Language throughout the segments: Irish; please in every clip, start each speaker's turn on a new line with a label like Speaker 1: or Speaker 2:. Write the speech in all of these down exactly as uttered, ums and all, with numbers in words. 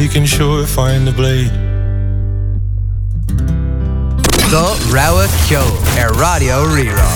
Speaker 1: He can sure find the blade.
Speaker 2: Do rogha ceoil ar Raidió Rí-Rá.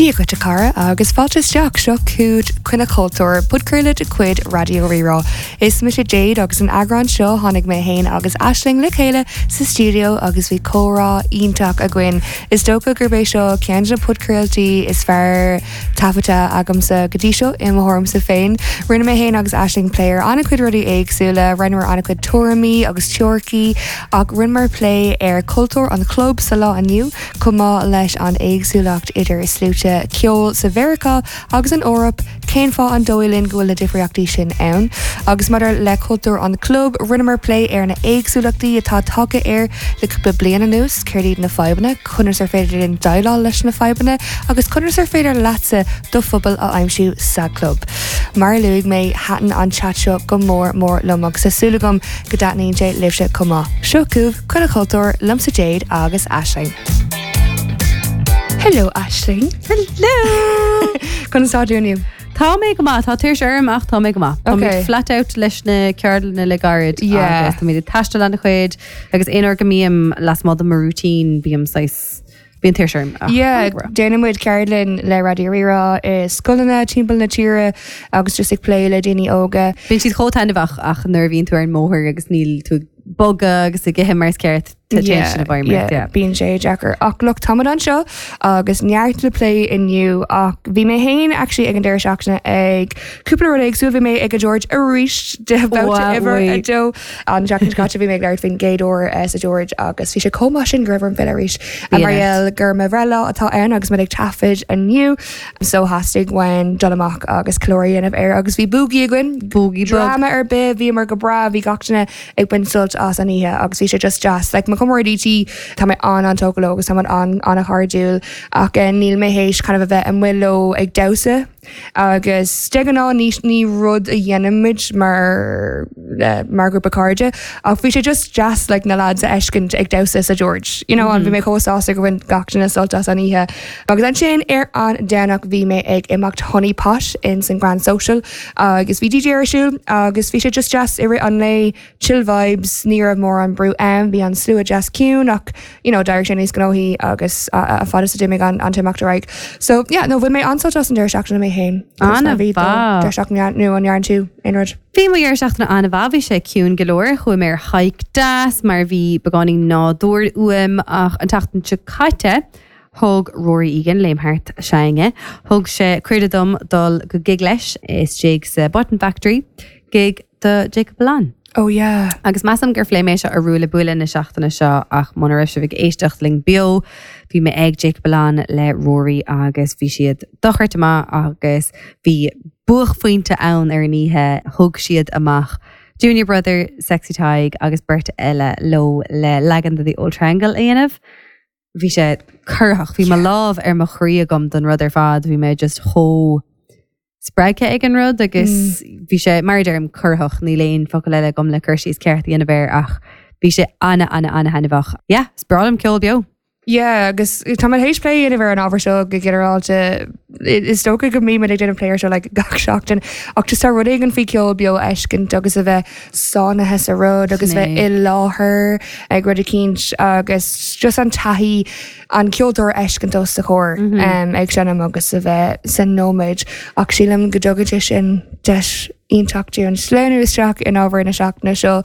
Speaker 3: Dia dhuit a chara agus fáilte isteach seo chugat Coinne Cultúir podchraoladh de chuid Raidió Rí-Rá. Is mise Jade agus an eagrán seo tháinig mé féin agus Aisling le chéile sa studio agus bhí comhrá iontach againn. Is dócha gurb é seo ceann de na podchraoltaí is fearr taifeadta agamsa go dtí seo i mo thuairimse féin. Rinne mé féin agus Aisling plé ar an-chuid rudaí éagsúla, rinneamar an-chuid tuairimí agus teoiricí ach rinneamar plé ar cultúr an chlub sa lá inniu, chomh maith leis an éagsúlacht idir sluaite ceoil sa Mheiriceá agus an Eoraip, cén fáth an dóigh linn go bhfuil na difríochtaí sin ann. Agus maidir le cultúr an chlub, rinneamar plé ar na éagsúlachtaí atá tagtha air le cúpla bliain anuas, céard iad na fadhbanna, conas ar féidir linn déileáil leis na fadhbanna, agus conas ar féidir leatsa do phobal a aimsiú sa club. Mar a luaigh mé thaitin an chat seo go mór mór liom agus tá súil agam go dtaitníonn sé libhse chomh maith. Seo chugaibh Coinne Cultúir liomsa Jade agus Aisling. Hello Aisling.
Speaker 4: Hello!
Speaker 3: Conas tá tú inniu?
Speaker 4: Tá mé go maith tá tuirse orm ach tá mé go maith. Tá
Speaker 3: Okay.
Speaker 4: flat out leis na ceardlanna le gairid
Speaker 3: Yeah.
Speaker 4: agus tá mé ag taisteal an-chuid agus aon uair go mbím lasmuigh de mo routine bím saghas bíonn tuirse orm. ach
Speaker 3: Yeah,
Speaker 4: tá mé go breá.
Speaker 3: déanann muid ceardlann le Raidió Rí-Rá i scoileanna timpeall na tíre agus just ag plé le daoine óga.
Speaker 4: Bíonn siad chomh taitneamhach ach nuair a bhíonn tú ar an mbóthar agus níl tú ag bogadh agus ag ithe mar is ceart sin a
Speaker 3: yeah, bíonn sé deacair ach look táimid anseo agus neart le plé inniu ach bhí mé féin actually ag an deireadh seachtaine ag cúpla rud éagsúil bhí mé ag a George arís de
Speaker 4: Wow,
Speaker 3: uimhir a
Speaker 4: wait.
Speaker 3: dó an seachtain caite bhí mé ag labhairt faoin gcéad uair eh, sa George agus bhí sé chomh maith sin go raibh orm filleadh arís
Speaker 4: Bhí
Speaker 3: mar gheall gur mo bhreithlá atá ann agus mé ag taifead inniu so theastaigh uaim dul amach agus ceiliúradh a dhéanamh air agus bhí boogie againn
Speaker 4: Boogie bug.
Speaker 3: Drama ar bith bhíomar go breá bhí gach duine ag baint sult as an oíche agus bhí sé just deas like, mo chomrádaithe tá mé an an-tógtha leo agus tá an an-chairdiúil ach eh, níl mé théis kind of a bheith amuigh leo ag damhsa agus de ghnáth ní ní rud a dhéanaimid mar uh, mar grúpa cairde ach bhí sé just deas like, na lads a fheiscint ag damhsa sa George. You know, an bhí mé chomh sásta go bhain gach duine sult as an oíche. Agus ansin ar an Domhnach bhí mé ag imeacht Honey Pot in san Grand Social agus bhí DJ ar siúl agus bhí sé just deas i rith an lae chill vibes ní raibh mórán brú ann bhí an slua deas ciúin ach you know, d'éirigh sé níos gnóthaí agus a fad is a d'imigh an an t-imeacht ar aghaidh. So yeah, no bhain mé an-sult as an deireadh seachtaine mé féin.
Speaker 4: An-mhaith.
Speaker 3: Deireadh seachtaine nó an ndearna tú aon rud.
Speaker 4: Bhí mo dheireadh seachtaine an-mhaith bhí sé ciúin go leor chuaigh mé ar hike deas mar bhí beagáinín nádúr uaim ach an tseachtain seo caite thug Rory Egan léim thart s'againne. Thug sé cuireadh dom dul go gig leis istigh sa Button Factory, gig do Jacob Alon.
Speaker 3: Oh yeah.
Speaker 4: Agus measaim gur phléigh mé seo ar Ruaille Buaille na seachtaine seo ach muna raibh sibh ag éisteacht linn beo, bhí mé ag Jacob Alon le Rory agus bhí siad dochreidte maith agus bhí buaicphointe ann ar an oíche thug siad amach Junior Brother, Sexy Tadhg agus beirt eile leo le leagan de the Old Triangle a dhéanamh. Bhí sé corraitheach, bhí mo lámh ar mo chroí agam don rud ar fad, bhí mé just chomh spreagtha ag an rud agus bhí sé mar deirim corraitheach níl aon focal eile agam le cur síos ceart a dhéanamh air ach bhí sé ana ana ana thaitneamhach. Yeah, is breá liom ceol beo.
Speaker 3: Yeah, agus tá mé théis plé a dhéanamh ar an ábhar seo go ginearálta is dócha go mbím ag déanamh plé air seo like, gach seachtain ach just tá rud éigin faoi ceol beo a fheiscint agus a bheith sáinnithe sa rud agus bheith
Speaker 4: Sin é.
Speaker 3: i láthair ag rud eicínt agus just an taithí an ceoltóir a fheiscint os do chomhair um, ag seinm agus a bheith san nóiméad ach sílim go dtugann sé sin deis iontach dúinn sleamhnú isteach in ábhar na seachtaine seo.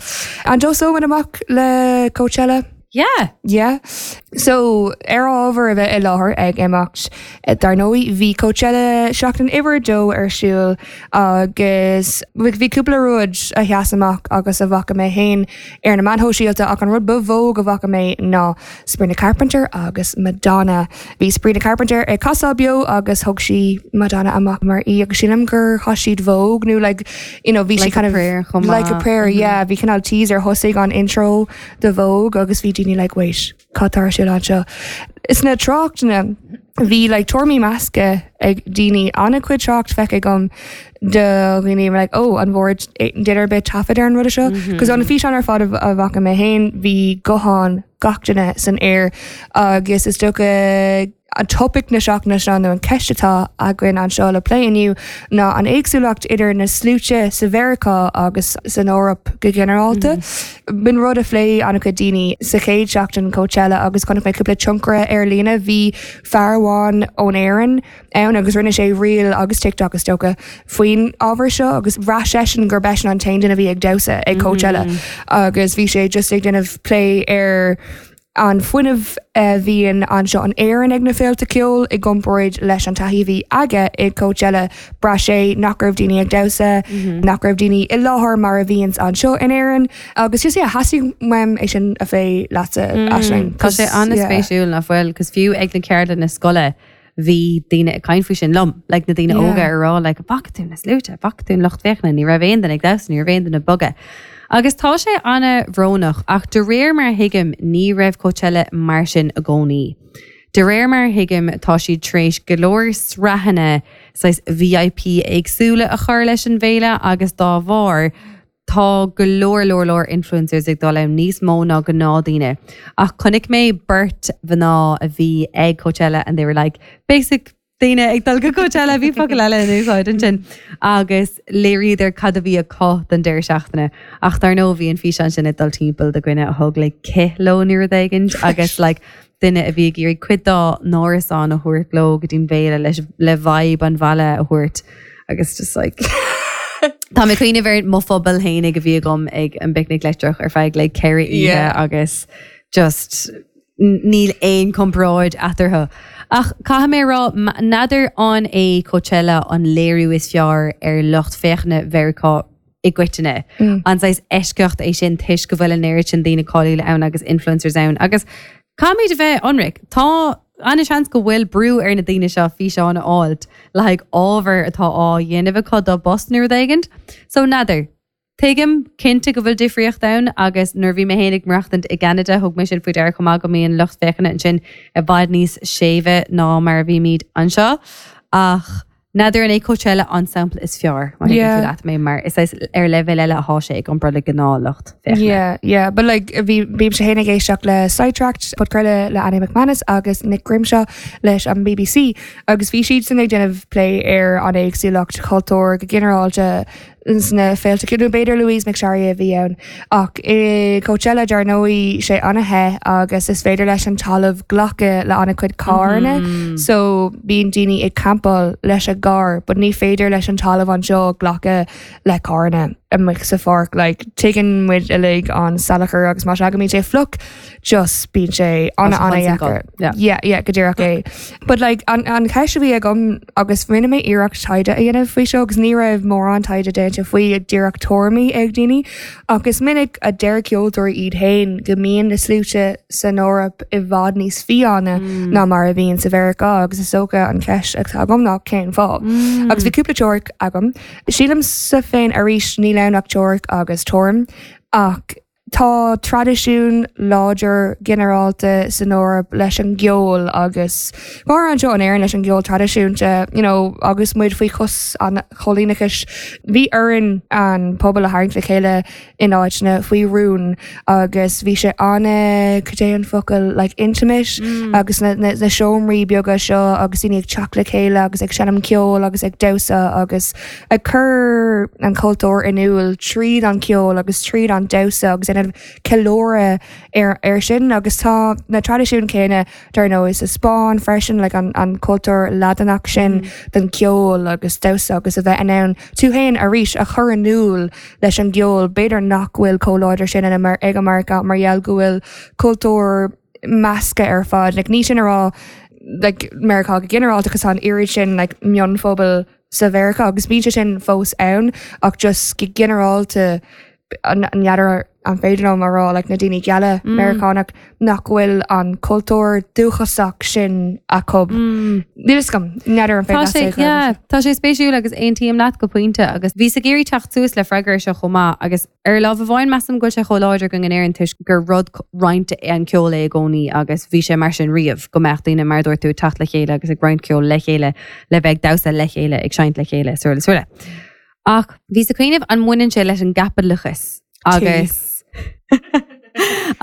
Speaker 3: An dtosóimid amach le Coachella?
Speaker 4: Yeah.
Speaker 3: Yeah. So ar ábhar a bheith i láthair ag imeacht eh, dar ndóigh bhí Coachella seachtain uimhir a dó ar siúl agus bhí cúpla rud a sheas amach agus a bhfaca mé féin ar na meáin shóisialta ach an rud ba mhó go bhfaca mé ná Sabrina Carpenter agus Madonna. Bhí Sabrina Carpenter ag casadh beo agus thug sí Madonna amach mar í agus sílim gur chas siad Vogue nó like you know, bhí sí
Speaker 4: Like a
Speaker 3: kind of
Speaker 4: prayer chomh
Speaker 3: like a
Speaker 4: maith.
Speaker 3: prayer yeah bhí cineál teaser thosaigh an intro de Vogue agus bhí daoine like wait cad tá ar siúl anseo. Is na tráchtanna bhí like tuairimí measctha ag daoine an-chuid trácht feicthe agam de dhaoine like oh an bhfuair duine ar bith taifead ar an rud seo cos an físeán ar fad a bhfaca mé féin bhí guthán gach duine san aer agus is dócha an topic na seachtaine seo nó an ceist atá againn anseo le plé inniu ná an éagsúlacht idir na sluaite sa Mheiriceá agus san Eoraip go ginearálta. B'in rud a phléigh an-chuid daoine sa chéad seachtain Coachella agus chonaic mé cúpla tionchaire ar líne bhí fear amháin ón Éirinn ann agus rinne sé reel agus TikTok is dócha faoin ábhar seo agus bhraith seisean gur b'eisean an t-aon duine a bhí ag damhsa ag Coachella agus bhí sé just ag déanamh plé ar an fuinneamh a bhíonn anseo in Éirinn ag na féilte ceoil i gcomparáid leis an taithí a bhí aige i Coachella bhraith sé nach raibh daoine ag damhsa, nach raibh daoine i láthair mar a bhíonns anseo in Éirinn agus just yeah, theastaigh uaim é sin a phlé leatsa Aisling.
Speaker 4: Tá sé an-spéisiúil nach bhfuil, cos fiú ag na ceardlanna scoile bhí daoine ag caint faoi sin liom, like na daoine
Speaker 3: Yeah.
Speaker 4: óga ar rá like bhfaca tú na sluaite, bhfaca tú an lucht féachana, ní raibh aon duine ag damhsa, ní raibh aon duine ag bogadh. Agus tá sé an-bhrónach ach de réir mar a thuigim ní raibh Coachella mar sin i gcónaí. De réir mar a thuigim tá siad tar éis go leor sraitheanna saghas VIP éagsúla a chur leis an bhféile agus dá bharr tá go leor leor leor influencers ag dul ann níos mó ná gnáthdhaoine. Ach chonaic mé beirt mhná a bhí ag Coachella and they were like basic daoine ag dul go Coachella bhí focal eile in úsáid ansin agus léiríodar cad a bhí acu don deireadh seachtaine. Ach dar ndóigh bhí an físeán sin ag dul timpeall de dhuine a thug le cith leo nó rud éigin agus like, duine a bhí ag iarraidh cuid dá n-árasán a thabhairt leo go dtí'n bhféile leis le vibe an bhaile a thabhairt agus just like Tá mé cuimhneamh ar mo phuball féinig a bhí agam ag an bPicnic Leictreach ar feadh le ceithre oíche
Speaker 3: Yeah.
Speaker 4: agus just n- níl aon comparáid eatarthu. Ach caithfidh mé rá n'fheadar an é Coachella an léiriú is fearr ar lucht féachana Mheiriceá i gcoitinne.
Speaker 3: Mm.
Speaker 4: An saghas eisceacht é sin toisc go bhfuil an oiread sin daoine cáiliúla ann agus influencers ann. Agus caithfimid a bheith ionraic Tá an-seans go bhfuil brú ar na daoine seo físeán a fháilt le haghaidh ábhar atá á dhéanamh acu dá bpost nó rud éigin. So n'fheadar. Tuigim cinnte go bhfuil difríocht ann agus nuair bhí mé féin ag maireachtaint i gCeanada thug mé sin faoi deara chomh maith go mbíonn lucht féachana ansin i bhfad níos séimhe ná mar a bhímid anseo. Ach n'fheadar an é Coachella an sampla is fearr má
Speaker 3: Yeah.
Speaker 4: leat mé mar is é ar leibhéal eile atá sé ag comparáid le gnáthlucht féachana.
Speaker 3: Yeah, yeah, but like bhí bímse féin ag éisteacht le Sidetracked podchraoladh le Annie McManus agus Nick Grimshaw leis an BBC agus bhí siad san ag déanamh plé ar an éagsúlacht chultúir go ginearálta sna féilte nó b'fhéidir Louise McSharry a bhí ann ach i Coachella dar ndóigh sé an-the agus is féidir leis an talamh glacadh le an-chuid carranna mm. so bíonn daoine ag campáil leis a gcarr, but ní féidir leis an talamh anseo glacadh le carranna amuigh sa pháirc like tuigeann muid uilig an salachar agus má sé go mbíonn sé fliuch just bíonn sé an
Speaker 4: Tá sé
Speaker 3: an
Speaker 4: constant
Speaker 3: dheacair.
Speaker 4: Yeah.
Speaker 3: Yeah, yeah, go díreach é. But like an, an cheist a bhí agam agus rinne mé iarracht taighde a dhéanamh faoi seo agus ní raibh mórán taighde déanta faoi díreach tuairimí ag daoine agus minic a deir ceoltóirí iad féin go mbíonn na sluaite san Eoraip i bhfad níos fiáine mm. ná mar a bhíonn sa Mheiriceá agus is dócha an cheist atá agam ná cén fáth. Mm. Agus bhí cúpla teoiric agam. Sílimse féin arís níl ann ach teoiric agus tuairim ach tá traidisiún láidir ginearálta san Eoraip leis an gceol agus mar anseo in Éirinn leis an gceol traidisiúnta you know, agus muid faoi chos an choilíneachais bhí orainn an pobal a tharraingt le chéile in áiteanna faoi rún agus bhí sé an cad é an focal like intimate mm. agus na, na, na seomraí beaga seo agus daoine ag teacht le chéile agus ag seinm ceol agus ag damhsa agus ag cur an cultúr in iúl tríd an ceol agus tríd an damhsa agus ina ceiliúradh ar ar sin agus tá na traidisiún céanna dar ndóigh sa Spáinn freisin le an, an cultúr Laidineach sin mm. den ceol agus damhsa agus a bheith in ann tú féin arís a chur in iúl leis an gceol b'fhéidir nach bhfuil chomh láidir sin ina mar ag America mar gheall go bhfuil cultúr measctha ar fad like, ní sin a rá like, Meiriceá go ginearálta agus an oiread sin like, mionphobal sa Mheiriceá agus bíonn sé sin fós ann ach just go ginearálta an n'fheadar an féidir liom a rá like, na daoine geala mm. Meiriceánach nach bhfuil an cultúr dúchasach sin acu. Mm. Níl gom n'fheadar an
Speaker 4: Tá sé yeah, Tá sé spéisiúil agus aontaím leat go pointe agus bhíos ag iarraidh teacht suas le freagra seo chomh maith agus ar lámh amháin measaim go bhfuil sé chomh láidir againn in Éirinn toisc gur rud roinnte an ceol é i gcónaí agus bhí sé mar sin riamh go mbeadh daoine mar dúirt tú teacht le chéile agus ag roinnt ceol le chéile le bheith damhsa le chéile ag seinnt le chéile sula sula. Ach bhíos ag cuimhneamh an mbaineann sé leis an gcaipitleachas agus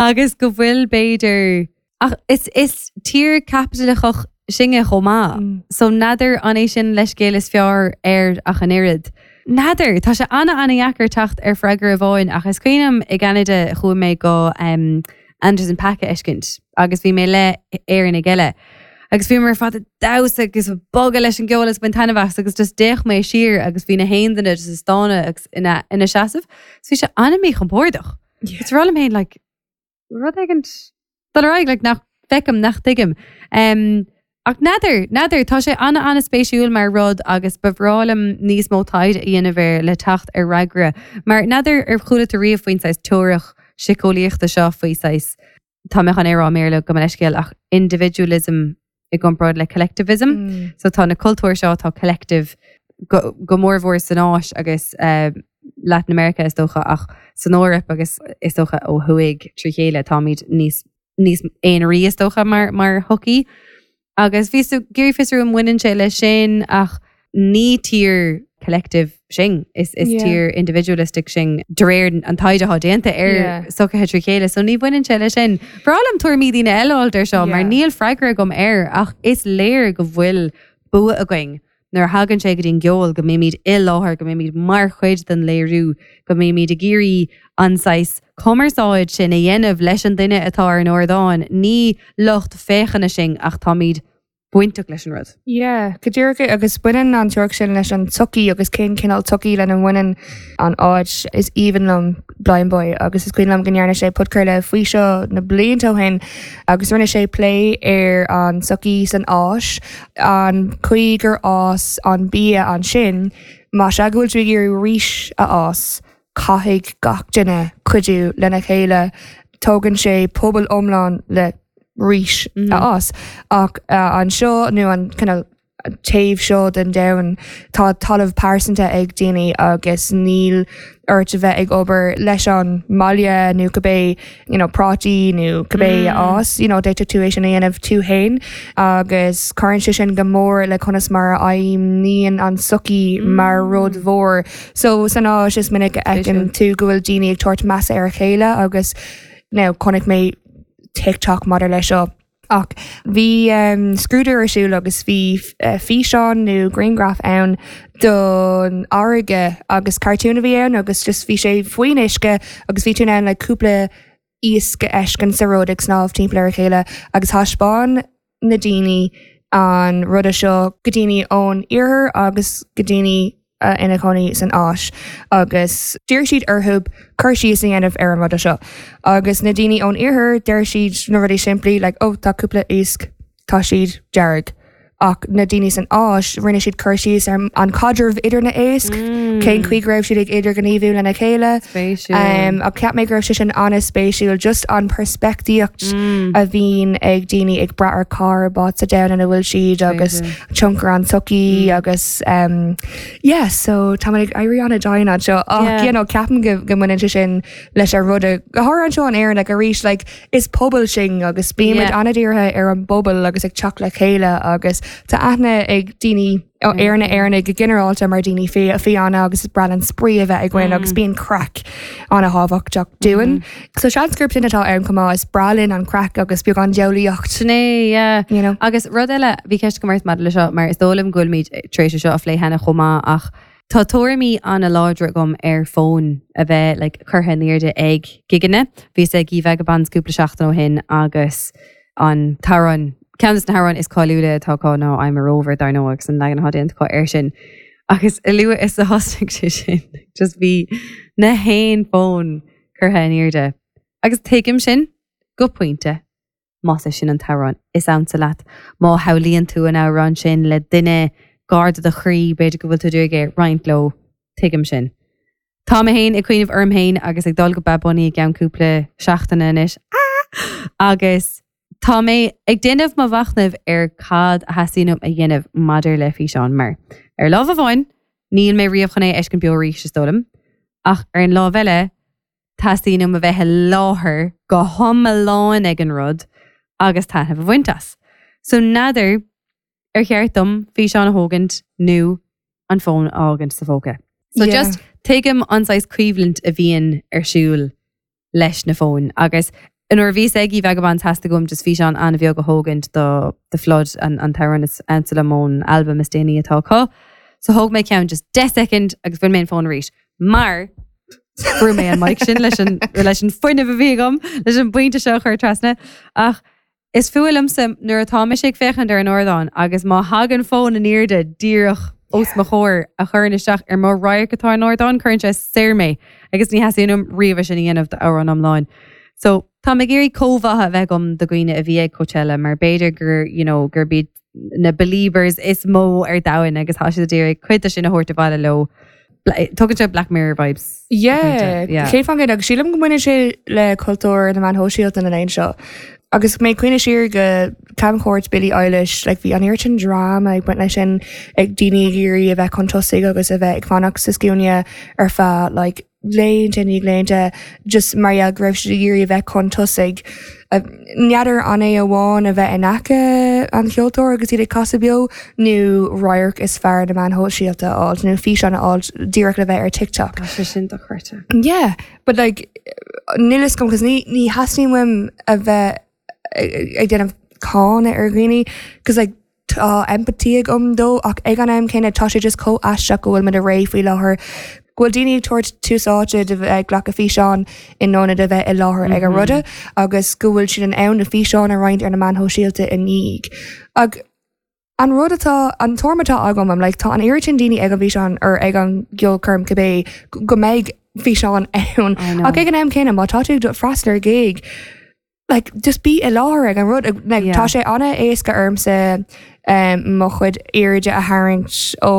Speaker 4: agus go bhfuil b'fhéidir ach is is tír caipitleachach sinne chomh maith. Mm. So n'fheadar an é sin leithscéal is fearr air ach an oiread. N'fheadar tá sé ana ana-dheacair teacht ar freagra amháin ach is cuimhin liom i gCeanada chuaigh mé go um, Anderson .Paak a fheiscint agus bhí mé le Éireannaigh eile. Agus bhí mar fad damhsa agus bogadh leis an gceol is baint taitneamh as agus just d'fhéach mé siar agus bhí na haon duine just ag stánadh agus ina ina seasamh. So bhí sé an-mhíchompordach. Yeah. It's rá féin like rud éigin dul ar aghaidh like nach feicim nach tuigim. Um, ach n'fheadar, n'fheadar, tá sé ana an-spéisiúil mar rud agus ba bhreá liom níos mó taighde a dhéanamh air le teacht ar fhreagra. Mar n'fheadar ar chuala tú riamh faoin saghas teoiric síceolaíochta seo faoi saghas tá mé chun é a rá i mBéarla gabh mo leithscéal ach individualism i gcomparáid le collectivism. Mm. So tá na cultúir seo tá collective go, go mórmhór san Áis agus uh, Latin America is dócha ach san Eoraip agus is dócha ó thuaidh trí chéile táimid níos níos aonaraí is dócha mar mar shochaí. Agus bhíos ag iarraidh fiosrú an mbaineann sé leis sin ach ní tír collective sin is is
Speaker 3: Yeah.
Speaker 4: tír individualistic sin de réir an taighde atá déanta ar
Speaker 3: Yeah.
Speaker 4: sochaithe trí chéile, so ní bhaineann sé leis sin. B'fhearr liom tuairimí daoine eile a fháil air seo, mar
Speaker 3: Yeah.
Speaker 4: níl freagra agam air ach is léir go bhfuil bua againn. Nuair a thagann sé go dtí an gceol go mbímid i láthair go mbímid mar chuid den léiriú, go mbímid ag iarraidh an saghas cumarsáid sin a dhéanamh leis an duine atá ar an ardán, ní lucht féachana sin ach táimid bainteach leis an rud.
Speaker 3: Yeah, go díreach agus baineann an teoiric sin leis an tsochaí agus cén cineál tsochaí lena mbaineann an áit is aoibhinn liom Blindboy agus is cuimhin liom go ndearna sé podchraoladh faoi seo na blianta ó shin agus rinne sé plé ar an tsochaí san Áis an chaoi gur fhás an bia ansin má sé go bhfuil tú ag iarraidh rís a fhás caithfidh gach duine cuidiú lena chéile tógann sé pobal iomlán le rís a fhás ach uh, anseo nó an cineál taobh seo den domhan tá talamh pearsanta ag daoine agus níl ort a bheith ag obair leis an mbaile nó cibé you know, prátaí nó cibé mm. fhás you know, d'fhéadfadh tú é sin a dhéanamh tú féin agus cuireann sé sin go mór le conas mar a fheidhmíonn an tsochaí mm. mar rud mhór. So san Áis is minic a fheiceann tú go bhfuil daoine ag tabhairt measa ar a chéile agus now chonaic mé TikTok maidir leis seo. Ach bhí um, scrúdú ar siúl agus bhí uh, físeán nó grianghraf ann don fharraige agus cartoon a bhí ann agus just bhí sé faoin uisce agus bhí tú ann le cúpla iasc a fheiscint sa rud ag snámh timpeall ar a chéile agus thaispeáin na daoine an ruda seo go daoine ón iarthar agus go daoine uh, ina cónaí san Áis agus d'iarr siad orthu cur síos a dhéanamh ar an ruda seo. Agus na daoine ón iarthar deir siad na rudaí simplí like, oh, tá cúpla iasc tá siad dearg. Ach na daoine san Áis rinne siad cur síos ar an caidreamh idir na éisc, mm. cén chaoi go raibh siad ag idirghníomhú lena chéile.
Speaker 4: Spéisiúil.
Speaker 3: Um, ach cheap mé go raibh sé sin an-spéisiúil just an peirspictíocht mm. a bhíonn ag daoine ag brath ar cárb as sa domhan ina bhfuil siad agus tionchar an tsochaí mm. agus um, yeah, so tá ag éirí an-dian anseo ach
Speaker 4: Yeah.
Speaker 3: you know, ceapaim go go mbaineann sé sin leis ar ruda go háirithe anseo in Éirinn like, arís like, is pobal sinn agus bímid
Speaker 4: Yeah.
Speaker 3: an-dírithe ar an bpobal agus ag teacht le chéile agus tá aithne ag daoine ar na Éireannaigh go ginearálta mar daoine fi fiáine agus is breá an spraoi a bheith againn agus bíonn craic an-thábhachtach dúinn. So seans gurb sin atá ann chomh maith is breá linn an craic agus beagán diabhlaíocht.
Speaker 4: Sin é, yeah.
Speaker 3: You know.
Speaker 4: Agus rud eile bhí ceist agam ort maidir le seo mar is dóigh liom go bhfuilimid tar éis seo a phlé cheana chomh maith ach tá tuairimí an-láidre agam ar fón a bheith like, curtha in airde ag gigeanna. Bhíos ag Vagabonds cúpla seachtain ó shin agus an t-amhrán ceann de na hamhráin is cáiliúla atá acu ná I'm a Rover dar ndóigh agus an leagan atá déanta acu air sin. Agus a luaithe is a thosaigh sé sin just bhí na haon fón curtha in airde. Agus tuigim sin go pointe. Más é sin an t-amhrán is ansa leat má shamhlaíonn tú an t-amhrán sin le duine gar do do chroí b'fhéidir go bhfuil tú ag roinnt leo tuigim sin. Tá mé féin ag cuimhneamh orm féin agus ag dul go Bad Bunny i gceann cúpla seachtaine anois. Ah! Agus tá mé ag déanamh mo mhachnaimh ar cad a theastaíonn uaim a dhéanamh maidir le físeán mar. Ar lámh amháin, níl mé riamh chun é a fheiscint beo arís is dóigh liom, ach ar an lámh eile, teastaíonn uaim a bheith i láthair go hiomlán ag an rud agus taitneamh a bhaint as. So n'fheadar ar cheart dom físeán a thógaint nó an fón a fhágaint sa phóca. So
Speaker 3: Yeah.
Speaker 4: just tuigim an saghas coimhlint a bhíonn ar siúl leis na fóin agus nuair a bhíos ag Vagabonds theastaigh uaim just físeán an-bheag a thógaint do The Flood an an t-amhrán is ansa liom ón albam is déanaí atá acu. So thóg mé ceann just deich second agus bhain mé an fón arís. Mar bhrú mé an mic sin leis an leis an fuinneamh a bhí agam leis an bpointe seo a chur trasna ach is fuath liomsa nuair atá mise ag féachaint ar an ardán agus má thagann fón in airde díreach os mo chomhair a chuireann isteach ar mo radharc atá an ardán cuireann sé soir mé agus ní theastaíonn uaim riamh sin a dhéanamh d'amhrán iomlán. So tá mé ag iarraidh comhbhá a bheith agam do dhaoine a bhí ag Coachella mar b'fhéidir gur you know, gur b'iad na believers is mó ar domhan agus tá siad ag iarraidh cuid de sin a thabhairt abhaile leo. Bla- Tugann sé Black Mirror vibes.
Speaker 3: Yeah,
Speaker 4: Yeah.
Speaker 3: Céad faoin gcéad agus sílim go mbaineann sé le cultúr na meán sóisialta na laethanta seo. Agus mé cuimhneamh siar go camchuairt Billie Eilish, like bhí an oiread sin drama ag baint leis sin ag daoine ag iarraidh a bheith chun tosaigh agus a bheith ag fanacht sa scuaine ar feadh like, laethanta ní laethanta just mar gheall go raibh siad ag iarraidh a bheith chun tosaigh. Uh, N'fheadar an é amháin a bheith in aice an cheoltóir agus iad ag casadh beo nó radharc is fearr na meáin shóisialta a fháil nó físeán a fháil díreach le bheith ar TikTok.
Speaker 4: Tá sé sin dochreidte.
Speaker 3: Yeah, but like níl a fhios agam cos ní ní theastaíonn uaim a bheith ag ag déanamh cáineadh ar dhaoine cos like tá empathy agam dó ach ag an am céanna tá sé just chomh aisteach go bhfuil muid i ré faoi láthair go bhfuil daoine ag tabhairt tús áite de bheith ag glacadh físeán in ionad a bheith i láthair ag an ruda agus go bhfuil siad in ann na físeáin a roinnt ar na meáin shóisialta i ndiaidh. Ag an rud atá an tuairim atá agam am like, tá an oiread sin daoine ag an bhfíseán ar ag an gceolchoirm cibé go mbeidh físeán ann
Speaker 4: I know.
Speaker 3: ach ag an am céanna má tá tú ag freastal ar gig like just bí i láthair ag an rud like,
Speaker 4: Yeah.
Speaker 3: tá sé an-éasca ormsa um, mo chuid airde a tharraingt ó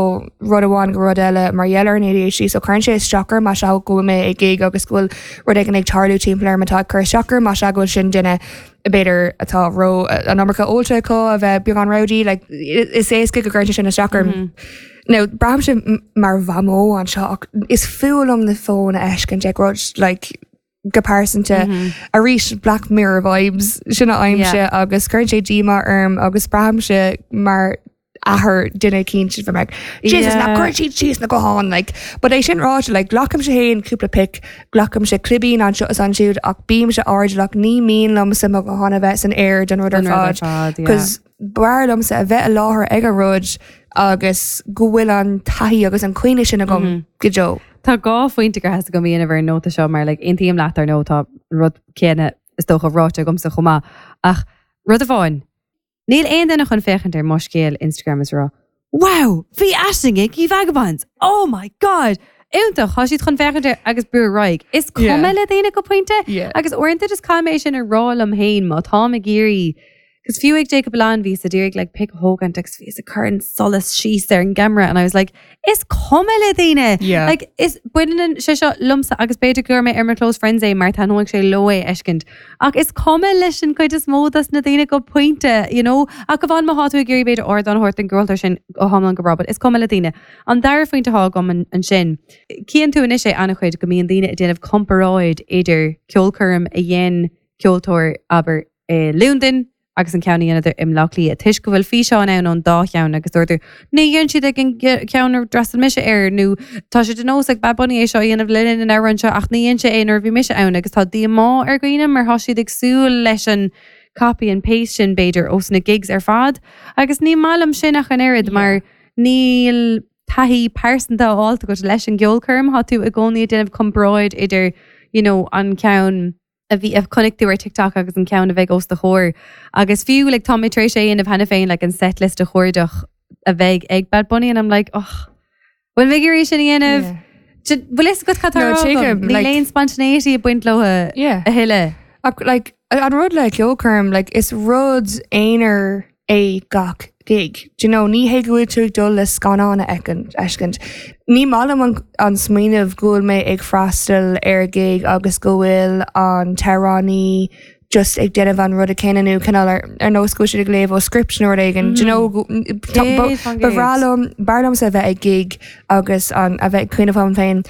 Speaker 3: rud amháin go rud eile mar gheall ar an ADHD so cuireann sé isteach orm má sea go bhfuil mé ag gig agus go bhfuil rud éigin ag tarlú timpeall orm atá ag cur isteach orm má sea go bhfuil sin duine b'fhéidir atá ró an iomarca ólta acu a bheith beagán rowdy like, is éasca go gcuireann sé sin isteach orm. Mm -hmm. Now braithimse mar mhamó anseo ach is fuath liom na fóin a fheiscint ag rud like go pearsanta mm -hmm. arís Black Mirror vibes sin a aimse
Speaker 4: Yeah.
Speaker 3: agus cuireann sé díomá orm agus braithimse mar athair duine eicínt bheith like, Jesus
Speaker 4: Yeah.
Speaker 3: ná cuir siad síos na gutháin like but é sin ráite like glacaimse féin cúpla pic glacaimse clibín anseo is ansiúd ach bímse airdeallach ní mian liomsa mo ghuthán a bheith san aer den rud ar
Speaker 4: Den rud ar
Speaker 3: fad
Speaker 4: fad, yeah.
Speaker 3: Cos b'fhearr liomsa a bheith i láthair ag an rud agus go bhfuil an taithí agus an cuimhne sin agam mm -hmm. go deo.
Speaker 4: Tá dhá phointe gur theastaigh uaim a dhéanamh ar an nóta seo mar like, aontaím leat ar nó tá an rud céanna is dócha ráite agamsa chomh maith ach rud amháin. Níl aon duine chun féachaint ar mo scéal Instagram is rá. Wow, bhí Aisling ag í Vagabonds. Oh my god! Iontach tá siad chun féachaint air agus brú ar aghaidh. Is cuma
Speaker 3: Yeah.
Speaker 4: le daoine go pointe
Speaker 3: Yeah.
Speaker 4: agus uaireanta just caithfidh mé sin a rá liom féin má tá ag iarraidh. Cos fiú ag Jacob Lan bhí sa d'iarraidh like pic a thógaint agus bhí ag cur an solas síos ar an gceamara and I was like is cuma le daoine
Speaker 3: Yeah.
Speaker 4: like is baineann sé seo liomsa agus b'fhéidir gur mé ar mo close friends é mar taitneoidh sé leo é a fheiscint ach is cuma leis an chuid is mó dos na daoine go pointe you know ach go bhfuil má tá tú ag iarraidh b'fhéidir ardán a thabhairt don gceoltóir sin go hiomlán go breá is cuma le daoine an dara phointe atá agam an ansin Cíonn tú anois é an-chuid go mbíonn daoine ag déanamh comparáid idir ceolchoirm a dhein ceoltóir abair i Londain agus an ceann a dhéanadar i mBleá Cliath toisc go bhfuil físeán ann ón dá cheann agus dúirtú ní dhein siad ag an gceann ar d'fhreastail mise air nó tá sé de nós ag Bad Bunny é seo a dhéanamh le linn an amhráin seo ach ní dhein sé é nuair a bhí mise ann agus tá díomá ar dhaoine mar tá siad ag súil leis an copy and paste sin b'fhéidir ós na gigs ar fad agus ní maith liom sin ach an oiread mar níl taithí pearsanta á agat leis an gceolchoirm tá tú i gcónaí ag déanamh comparáid idir you know, an ceann a bhí a chonaic tú ar TikTok agus an ceann a bheidh os do chomhair. Agus fiú like, tá mé tar éis é a dhéanamh cheana féin like, an setlist a chuardach a bheidh ag Bad Bunny and I'm like oh bhfuil mé ag iarraidh sin a dhéanamh bhfuil fhios agat cad
Speaker 3: No, tuigim,
Speaker 4: Ní
Speaker 3: like-
Speaker 4: aon spontaneity ag baint leo
Speaker 3: Yeah.
Speaker 4: a thuilleadh.
Speaker 3: Ach like an rud le ceolchoirm like is rud aonair é gach gig. Do you know, ní hé go bhfuil tú ag dul le scannán a fheiscint. Ní maith liom an, an smaoineamh go bhfuil mé ag freastal ar gig agus go bhfuil an t-amhránaí just ag déanamh an rud céanna nó cineál ar, ar nós go bhfuil siad ag léamh ó script nó rud éigin. Do you know, go- tá- ba-
Speaker 4: Céad fan
Speaker 3: ba
Speaker 4: gcéad.
Speaker 3: bhreá liom b'fhearr liomsa a bheith ag gig agus an a bheith ag cuimhneamh am féin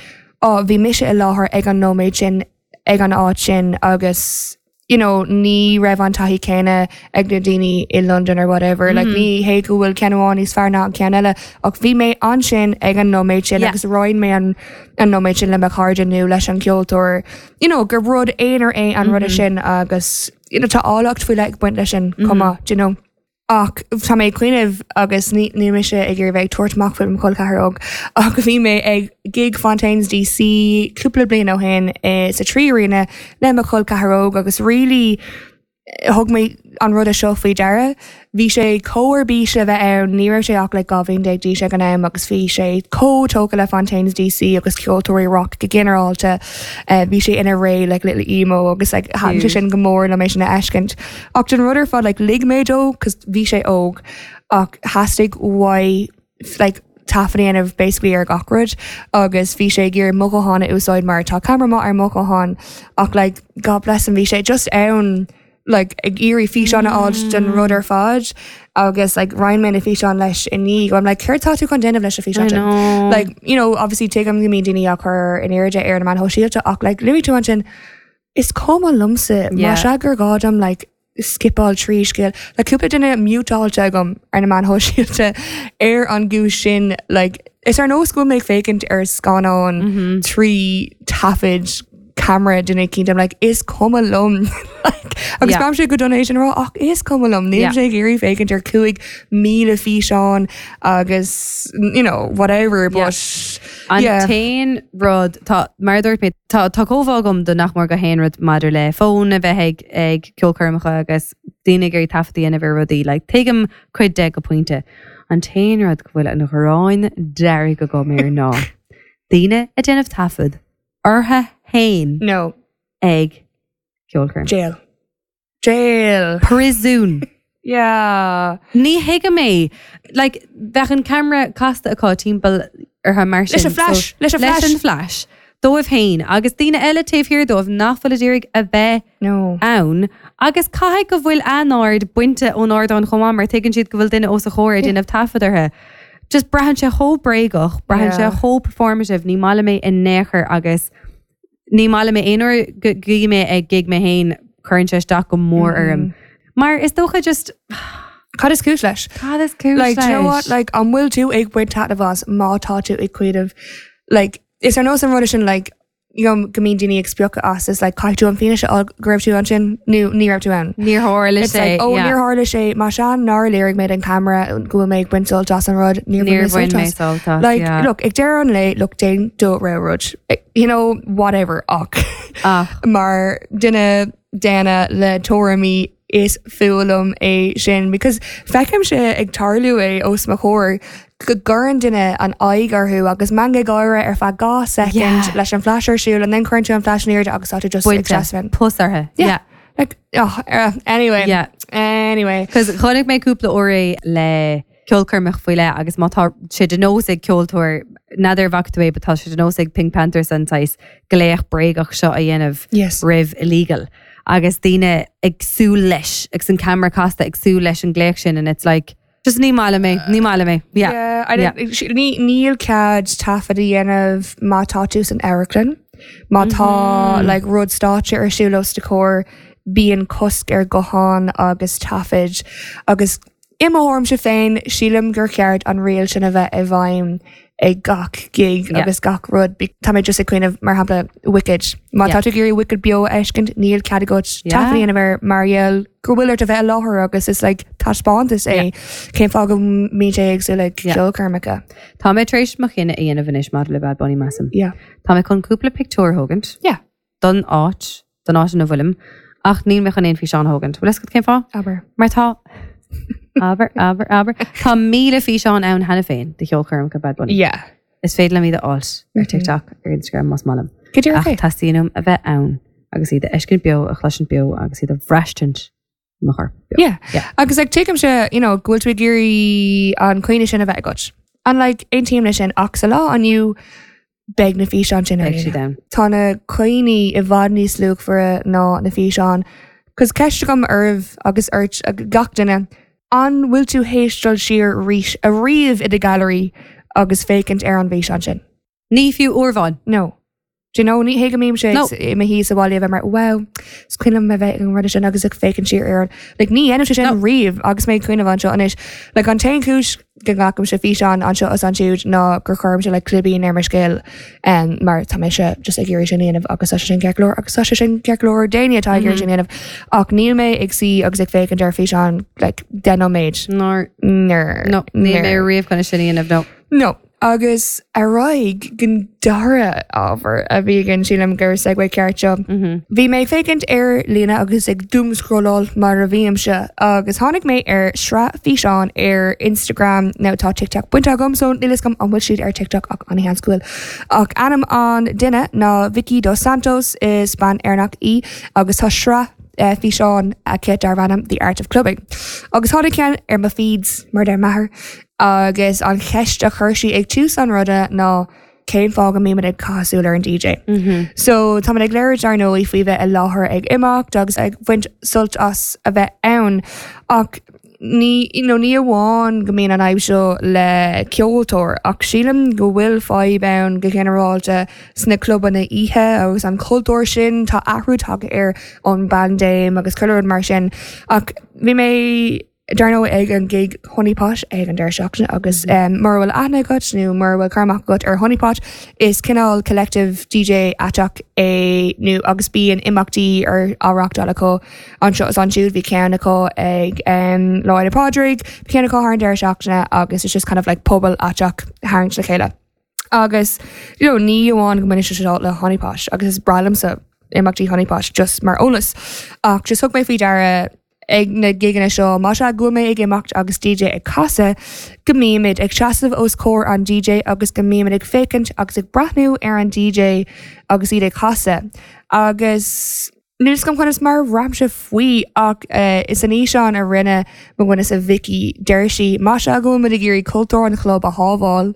Speaker 3: ó bhí mise i láthair ag an nóiméad sin ag an áit sin agus you know, ní raibh an taithí céanna ag na daoine i London or whatever. Mm -hmm. Like ní hé go bhfuil ceann amháin níos fearr ná an ceann eile ach bhí mé ansin ag an nóiméad sin
Speaker 4: Yeah.
Speaker 3: agus roinn mé an an nóiméad sin le mo chairde nó leis an ceoltóir. You know, gur rud aonair é an rud sin agus you know, tá áilleacht faoi leith ag baint leis sin chomh maith, do you know. Ach tá mé ag cuimhneamh agus ní ní mise ag iarraidh bheith ag tabhairt amach faoi mo chol ceathar óg ach bhí mé ag gig Fontaines DC cúpla bliain ó shin eh, sa Three Arena le mo chol ceathar óg agus really thug mé an rud seo faoi deara. Bhí sé chomh ar bís le bheith ann ní raibh sé ach le dhá bhliain déag d'aois ag an am agus bhí sé chomh tógtha le Fontaines DC agus ceoltóirí rock go ginearálta. Uh, bhí sé ina ré like, little emo agus like, thaitin sé sin go mór le mé sin a fheiscint. Ach den rud ar fad like, lig mé dó cos bhí sé óg ach theastaigh uaidh like, taifead a dhéanamh basically ar gach rud agus bhí sé ag iarraidh mo ghuthán a úsáid mar tá camera maith ar mo ghuthán ach like, God bless him bhí sé just ann like ag iarraidh físeán a fháil den rud ar fad agus like roinn mé na físeán leis i ndiaidh I'm like céard tá tú chun déanamh leis an físeán
Speaker 4: I
Speaker 3: sin?
Speaker 4: know.
Speaker 3: like you know obviously tuigim go mbíonn daoine á chur in airde ar na meáin shóisialta ach like luaigh tú ansin is cuma liomsa
Speaker 4: Yeah.
Speaker 3: má sea gur gá dom like skipáil trí scéal le cúpla duine mutáilte agam ar na meáin shóisialta ar an gcúis sin like is ar nós go mé ag féachaint ar scannán trí taifead camera duine eicínt I'm like is cuma liom like, agus
Speaker 4: Yeah.
Speaker 3: yeah. sé go dona sin rá ach is cuma liom níl
Speaker 4: Yeah.
Speaker 3: sé ag iarraidh féachaint ar cúig míle físeán agus you know whatever
Speaker 4: Yeah.
Speaker 3: but
Speaker 4: An
Speaker 3: yeah.
Speaker 4: t-aon rud tá mar a dúirt mé tá tá comhbhá agam do nach mór gach aon rud maidir le fón a bheith ag ag ceolchoirmeacha agus daoine ag iarraidh taifead a dhéanamh ar rudaí like tuigim cuid de go pointe. An t-aon rud go bhfuil an ghráin dearg agam air ná. Daoine ag déanamh taifead orthu féin
Speaker 3: no
Speaker 4: ag ceolchoirm.
Speaker 3: jail jail
Speaker 4: Príosún.
Speaker 3: yeah
Speaker 4: Ní thuigim é like bheadh an camera casta acu timpeall orthu mar sin.
Speaker 3: Leis an flash,
Speaker 4: so,
Speaker 3: leis an
Speaker 4: leis
Speaker 3: flash.
Speaker 4: an flash. Dóibh féin agus daoine eile taobh thiar dóibh nach bhfuil ag iarraidh a bheith
Speaker 3: no
Speaker 4: ann agus caithfidh go bhfuil a n-aird bainte ón ardán chomh maith mar tuigeann siad go bhfuil duine os a chomhair ag déanamh taifead orthu. Just braitheann sé chomh bréagach, braitheann sé
Speaker 3: Yeah.
Speaker 4: chomh performative, ní maith liom é in aon chor agus ní maith liom é aon uair go gcuí mé ag gig mé féin cuireann sé isteach go mór orm. Mar is dócha just
Speaker 3: Cad is cúis leis
Speaker 4: cad is cúis
Speaker 3: like do you know
Speaker 4: leis?
Speaker 3: what like an bhfuil tú ag baint taitneamh as má tá tú ag cuimhneamh like is ar nós an rud sin like you know, go mbíonn daoine ag spochadh as is like caithfidh tú an fianaise a fháil go raibh tú ansin nó ní raibh tú ann.
Speaker 4: Níor tharla
Speaker 3: It's
Speaker 4: sé
Speaker 3: like, oh,
Speaker 4: yeah.
Speaker 3: níor tharla sé má sea nár léirigh mé an camera go bhfuil mé ag baint sult as an rud níor
Speaker 4: Níor
Speaker 3: bhain
Speaker 4: bhain
Speaker 3: mé
Speaker 4: mé
Speaker 3: sult as.
Speaker 4: sult as,
Speaker 3: Like,
Speaker 4: yeah.
Speaker 3: look, ag deireadh an lae, look, déan do rogha rud. Eh, You know, whatever, ach.
Speaker 4: Ach.
Speaker 3: Mar duine daonna le tuairimí is fuath liom é sin, because feicim sé ag tarlú é os mo chomhair go gcuireann duine an aghaidh orthu agus meangadh gáire ar feadh dhá second
Speaker 4: Yeah.
Speaker 3: leis an flash ar siúl and then cuireann tú an flash in airde agus tá tú just ag
Speaker 4: Bainte
Speaker 3: seasamh.
Speaker 4: pus orthu.
Speaker 3: Yeah.
Speaker 4: Yeah.
Speaker 3: Like, oh, uh, anyway.
Speaker 4: Yeah.
Speaker 3: Anyway.
Speaker 4: Cos chonaic mé cúpla uair é le ceolchoirmeach faoi leith agus má tá sé de nós ag ceoltóir n'fheadar an bhfaca tú é, but tá sé de nós ag Pink Panthers an saghas glaoch bréagach seo a dhéanamh
Speaker 3: Yes.
Speaker 4: roimh illegal. Agus daoine ag súil leis agus an camera casta ag súil leis an glaoch sin and it's like just ní maith liom é, ní maith liom é. Yeah.
Speaker 3: Yeah, I don't, ní níl cead taifead a dhéanamh má tá tú san amharclann. Má tá
Speaker 4: Mm-hmm.
Speaker 3: like, rud stáitse ar siúl os do chomhair bíonn cosc ar guthán agus taifid agus i mo thuairimse féin sílim gur ceart an riail sin a bheith i bhfeidhm ag gach gig
Speaker 4: Yeah.
Speaker 3: agus gach rud. Be- Tá mé just ag cuimhneamh mar shampla Wicked. Má
Speaker 4: Yeah.
Speaker 3: tá tú ag iarraidh Wicked beo a fheiscint níl cead agat
Speaker 4: Yeah.
Speaker 3: taifead a dhéanamh ar mar gheall go bhfuil ort a bheith i láthair agus is like taispeántas é cén fáth go mbíonn sé éagsúil ag
Speaker 4: Yeah.
Speaker 3: ceolchoirmeacha.
Speaker 4: Tá mé tar éis mo chinneadh a dhéanamh anois maidir le Bad Bunny measaim.
Speaker 3: Yeah.
Speaker 4: Tá mé chun cúpla pictiúr a thógaint
Speaker 3: Yeah.
Speaker 4: don áit don áit ina bhfuilim ach níl mé chun aon físeán a thógaint. Bhfuil a fhios agat cén fáth?
Speaker 3: Aber.
Speaker 4: Mar tá Aber aber aber Tá míle físeán ann cheana féin de cheolchoirmeacha Bad Bunny.
Speaker 3: Yeah.
Speaker 4: Is féidir liom iad a fháil ar TikTok ar Instagram más maith liom.
Speaker 3: Go dtí
Speaker 4: Ach teastaíonn uaim a bheith ann agus iad a fheiscint beo a chloisint beo agus iad a bhraistint mo chorp.
Speaker 3: Yeah.
Speaker 4: Yeah.
Speaker 3: Agus like tuigimse you know, go bhfuil tú ag iarraidh an cuimhne sin a bheith agat. And like aontaím leis sin ach sa lá inniu beidh na físeáin sin ar
Speaker 4: Beidh siad
Speaker 3: líne.
Speaker 4: ann.
Speaker 3: Tá na cuimhní i bhfad níos luachmhaire ná na físeáin. Cos ceist agam oraibh agus ort ag gach duine, an bhfuil tú théis dul siar arís ariamh i do gallery agus féachaint ar an bhfíseán sin?
Speaker 4: Ní fiú uair amháin.
Speaker 3: No. Do you know, ní hé go mbím sé
Speaker 4: No.
Speaker 3: i mo shuí sa bhaile bheith mar wow, is cuimhin liom a bheith an rud sin agus ag féachaint siar ar an. Like, ní dhéanaim sé sin
Speaker 4: No.
Speaker 3: riamh agus mé ag cuimhneamh anseo anois. Like, an t-aon chúis go nglacaimse físeán anseo is ansiúd ná gur chuirimse like, clibín ar mo scéal um, mar tá mise just ag iarraidh sin a dhéanamh agus tá sé sin ceart go leor agus tá sé sin ceart go leor daoine atá ag iarraidh sin a dhéanamh. Ach níl mé ag suí agus ag féachaint ar físeán like, deich nóiméad.
Speaker 4: Nár
Speaker 3: Ner.
Speaker 4: no, níl mé riamh chun sin a dhéanamh no.
Speaker 3: No. Agus ar aghaidh don dara ábhar a bhí againn sílim gur segue ceart seo. Bhí mé ag féachaint ar líne agus ag doomscrolláil mar a bhímse agus tháinig mé ar sraith físeán ar Instagram nó tá TikTok bainte agam so níl a fhios agam an bhfuil siad ar TikTok ach an-sheans go bhfuil. Ach ainm an duine ná Vicky Dos Santos is bean Éireannach í agus tá sraith uh, físeán aici darb ainm The Art of Clubbing. Agus tháinig ceann ar mo feeds mar deir m'athair agus an cheist a chuir sí ag tús an ruda ná cén fáth go mbímid ag caitheamh súil ar an DJ. Mm -hmm. So tá ag léiriú ar ndóigh faoi bheith i láthair ag imeacht agus ag bhaint sult as a bheith ann ach ní you know, ní amháin go mbíonn an fhadhb seo le ceoltóir ach sílim go bhfuil fadhb ann go ginearálta sna clubanna oíche agus an cultúr sin tá athrú tagtha ar an bpaindéim agus chuile rud mar sin ach bhí mé dar ndóigh ag an gig Honeypot ag an deireadh seachtaine agus um, mura bhfuil aithne agat nó mura bhfuil cur amach agat ar Honeypot is cineál collective DJ aiteach é nó agus bíonn imeachtaí ar á reáchtáil acu anseo is ansiúd bhí ceann acu ag um, Lá Fhéile Pádraig, bhí ceann acu thar an deireadh seachtaine agus it's just kind of like pobal aiteach tharraingt le chéile. Agus you know, ní amháin go mbaineann sé seo le Honeypot agus is breá liomsa imeachtaí Honeypot just mar eolas ach just thug mé faoi deara ag na giganna seo má sea go mé ag imeacht agus DJ ag casadh go mbímid ag seasamh os comhair an DJ agus go mbímid ag féachaint agus ag breathnú ar an DJ agus iad ag casadh. Agus níl a fhios agam conas mar ramse faoi ach uh, is an fhíseán a rinne mo dhuine sa Vicky deir sí má sea go bhfuil muid ag iarraidh cultúr an chlub a shábháil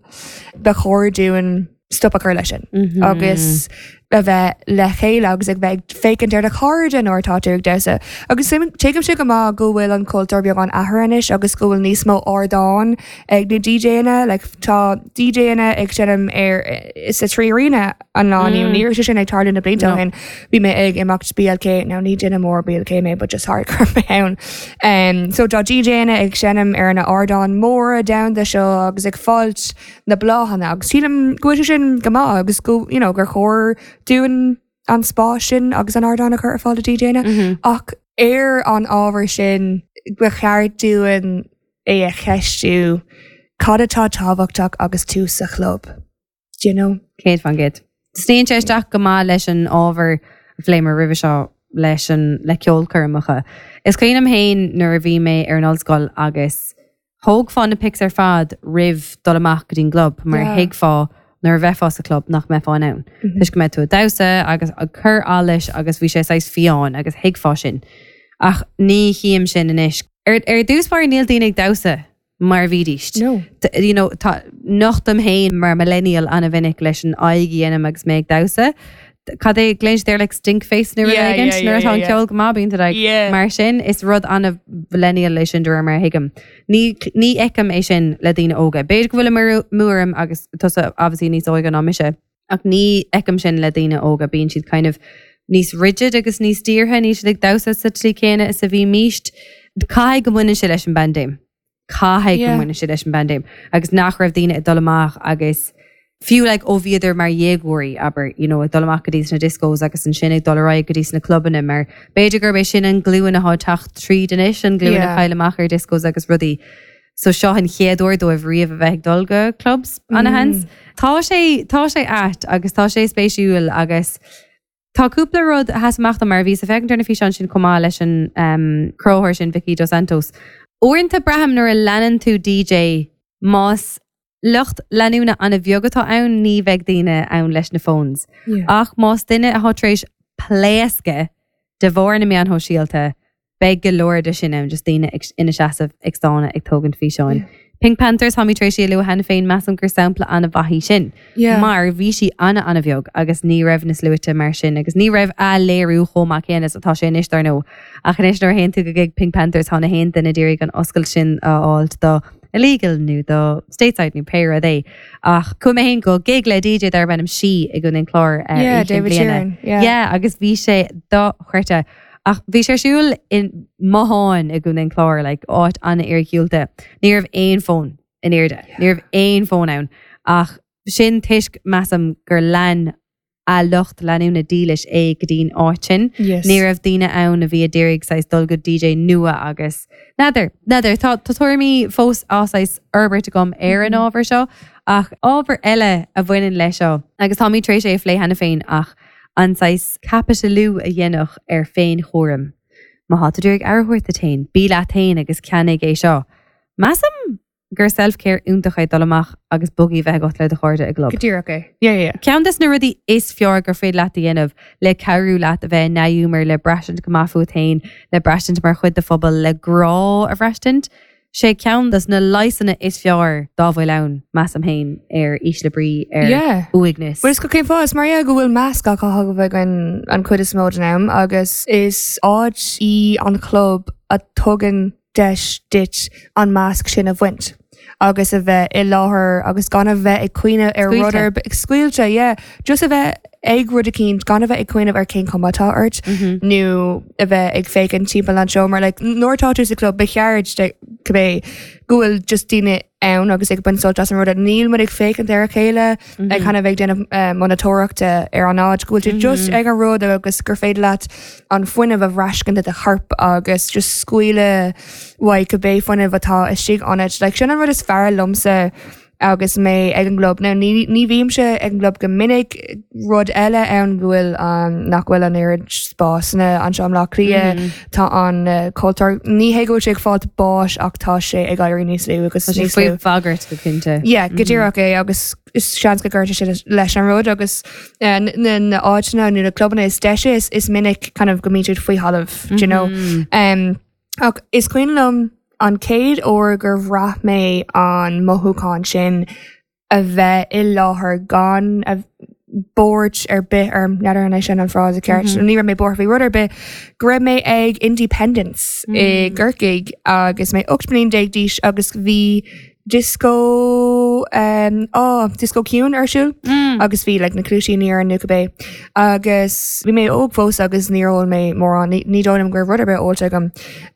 Speaker 3: ba chóir dúinn stop a chur leis sin mm -hmm. agus a bheith le chéile agus ag bheith féachaint ar do chairde nuair atá tú ag damhsa. Agus tuigim sé go maith go bhfuil an cultúr beagán athraithe anois agus go bhfuil níos mó ardán ag na DJanna, like, tá DJanna ag seinm ar is a trí arena an lá mm. ní raibh sé sin ag tarlú na blianta ó shin bhí mé ag imeacht BLK now ní duine mór BLK mé but just hardcore mé ann. Um, so tá DJanna ag seinm ar na ardán móra domhanda seo agus ag fáilt na bláthanna agus sílim go bhfuil sé sin go maith agus go you know, gur chóir dúinn an spás sin agus an ardán a chur ar fáil do DJanna mm -hmm. ach ar an ábhar sin ba cheart dúinn é a cheistiú cad atá tábhachtach agus tú sa chlub. Do you know?
Speaker 4: Céad faoin gcéad. Sníonn sé isteach go maith leis an ábhar a phléamar roimhe seo leis an le ceolchoirmeacha. Is cuimhin liom féin nuair a bhí mé ar an ollscoil agus thógfá na pics ar fad roimh dul amach go dtí an gclub mar
Speaker 3: Yeah.
Speaker 4: thuigfeá nuair a bheifeá sa club nach mbeifeá in ann. Toisc go mbeadh tú ag damhsa agus ag cur allais agus bhí sé saghas fiáin agus thuigfeá sin. Ach ní chím sin anois. Ar, ar dtús báire níl daoine ag damhsa mar a bhídís.
Speaker 3: No.
Speaker 4: T- you know, tá nochtaim féin mar millennial an-mhinic leis an aghaidh a dhéanaim agus mé ag damhsa. Cad é glaonn siad like stink face nó
Speaker 3: Yeah,
Speaker 4: rud éigin
Speaker 3: yeah,
Speaker 4: nuair
Speaker 3: yeah,
Speaker 4: atá an
Speaker 3: yeah,
Speaker 4: ceol go maith bíonn tú like,
Speaker 3: Yeah.
Speaker 4: mar sin is rud an-mhillennial é sin de réir mar a thuigim. Ní ní fheicim é sin le daoine óga. B'fhéidir go bhfuil amú orm agus tusa obviously níos óige ná mise. Ach ní fheicim sin le daoine óga bíonn siad kind of níos rigid agus níos dírithe níl siad ag damhsa sa tslí céanna is a bhímist. Caithfidh go mbaineann sé leis an bpaindéim. Caithfidh go
Speaker 3: Yeah.
Speaker 4: mbaineann sé leis an bpaindéim. Agus nach raibh daoine ag dul amach agus fiú like, ó bhíodar mar dhéagóirí abair you know, ag dul amach go dtí na discos agus ansin ag dul ar aghaidh go dtí na clubanna mar b'fhéidir gurb é sin an glúin atá ag teacht tríd anois an glúin
Speaker 3: Yeah.
Speaker 4: a chaill amach ar discos agus rudaí. So seo an chéad uair dóibh riamh a bheith ag dul go clubs an-sheans. Tá sé tá sé ait agus tá sé spéisiúil agus Tá cúpla rud a sheas amach mar bhí ag féachaint ar na físeáin sin chomh maith leis an um, cruthaitheoir sin Vicky Dos Santos. Uaireanta braithim nuair a leanann tú DJ más lucht leanúna an-bheag atá ann ní bheidh daoine ann leis na phones.
Speaker 3: Yeah.
Speaker 4: Ach más duine atá tar éis pléascadh de bharr na meáin shóisialta Beidh go leor de sin ann just daoine ag- ina seasamh ag stánadh ag tógaint físeáin. Pink Panthers tá mé tar éis a lua cheana féin measaim gur sampla an-mhaith í sin.
Speaker 3: Yeah.
Speaker 4: Mar bhí sí ana an-bheag agus ní raibh na sluaite mar sin agus ní raibh a léiriú chomh maith céanna is atá sé anois dar ndóigh. Ach anois nuair a théann tú go gig Pink Panthers tá na haon duine d'iarraidh an oscailt sin a fháilt do illegal nó do stateside nó pé rud é. Ach chuaigh mé féin go gig le DJ darb ainm Sí i gContae an Chláir uh,
Speaker 3: Yeah,
Speaker 4: oíche
Speaker 3: David
Speaker 4: bliana.
Speaker 3: Sheeran, yeah.
Speaker 4: Yeah, agus bhí sé dochreidte. Ach bhí sé ar siúl in Mahan i gContae an Chláir, like, áit an-iargúlta. Ní raibh aon fón in airde. Ní raibh aon fón ann. Ach sin toisc measaim gur lean a lucht leanúna dílis é go dtí'n áit sin.
Speaker 3: Yes.
Speaker 4: Ní raibh daoine ann a bhí ag iarraidh saghas dul go DJ nua agus N'fheadar, n'fheadar, tá tá tuairimí fós á saghas fhorbairt agam ar an ábhar seo ach ábhar eile a bhaineann leis seo agus tá mé tar éis é a phlé cheana féin ach an saghas caipitiliú a dhéanamh ar féinchúram. Má tá tú ag iarraidh aire a thabhairt duit féin, bí leat féin agus ceannaigh é seo. Measaim gur self-care iontach é dul amach agus boogie bheith agat le do chairde i gclub.
Speaker 3: Go díreach é. Yeah, yeah.
Speaker 4: Ceann des na rudaí is fearr gur féidir leat a dhéanamh le cabhrú leat a bheith i ndea-ghiúmar le braistint go maith fút féin, le braistint mar chuid de phobal le grá a bhraistint. Sé ceann des na leigheasanna is fearr dá bhfuil ann measaim féin ar ísle brí ar
Speaker 3: Yeah.
Speaker 4: uaigneas.
Speaker 3: Well, is go cén fáth is mar yeah, go bhfuil masc á chaitheamh againn an chuid is mó den am agus is áit í an club a tugann deis duit an masc sin a bhaint. agus a bheith i láthair agus gan a bheith ag cuimhneamh ar rud
Speaker 4: Scaoilte.
Speaker 3: ar bith- scaoilte, yeah. Just a bheith ag rud eicínt gan a bheith ag cuimhneamh ar cén chuma atá ort nó a bheith ag féachaint timpeall an seomra like nuair atá tú sa club ba cheart de cibé go bhfuil just daoine ann agus ag baint sult as an rud níl muid ag féachaint ar a chéile ag kind of ag déanamh uh, monatóireachta ar an áit go bhfuil tú just ag an rud agus gur féidir leat an fuinneamh a bhraistint i do chorp agus just scaoileadh uaidh cibé fuinneamh atá istigh ionat like sin an rud is fearr liomsa agus mé ag an gclub. Now ní ní bhímse ag an gclub go minic rud eile ann go bhfuil um, nach bhfuil an oiread spásanna anseo i mBleá Cliath tá an uh, cultúr ní hé go bhfuil sé ag fáil báis ach tá sé ag éirí níos lú agus
Speaker 4: Tá sé
Speaker 3: níos
Speaker 4: faoi
Speaker 3: lú.
Speaker 4: bhagairt go cinnte.
Speaker 3: Yeah, go díreach é agus is seans go gcuirte sé leis an rud agus uh, na na áiteanna nó na clubanna is deise is, is minic kind of go mbíonn siad faoi thalamh, do you know. Um, ach is cuimhin liom an chéad uair gur bhraith mé an mothúchán sin a bheith i láthair gan a buairt ar bith ar n'fheadar an é sin an frása ceart. Ní raibh mé buartha faoi rud ar bith go raibh mé ag Independence i gCorcaigh agus mé ocht mbliana déag d'aois agus bhí disco um, oh, disco ciúin ar siúl agus bhí like, na cluaisíní ar an nó cibé agus bhí mé óg fós agus níor ól mé mórán ní ní dóigh liom go raibh rud ar bith ólta agam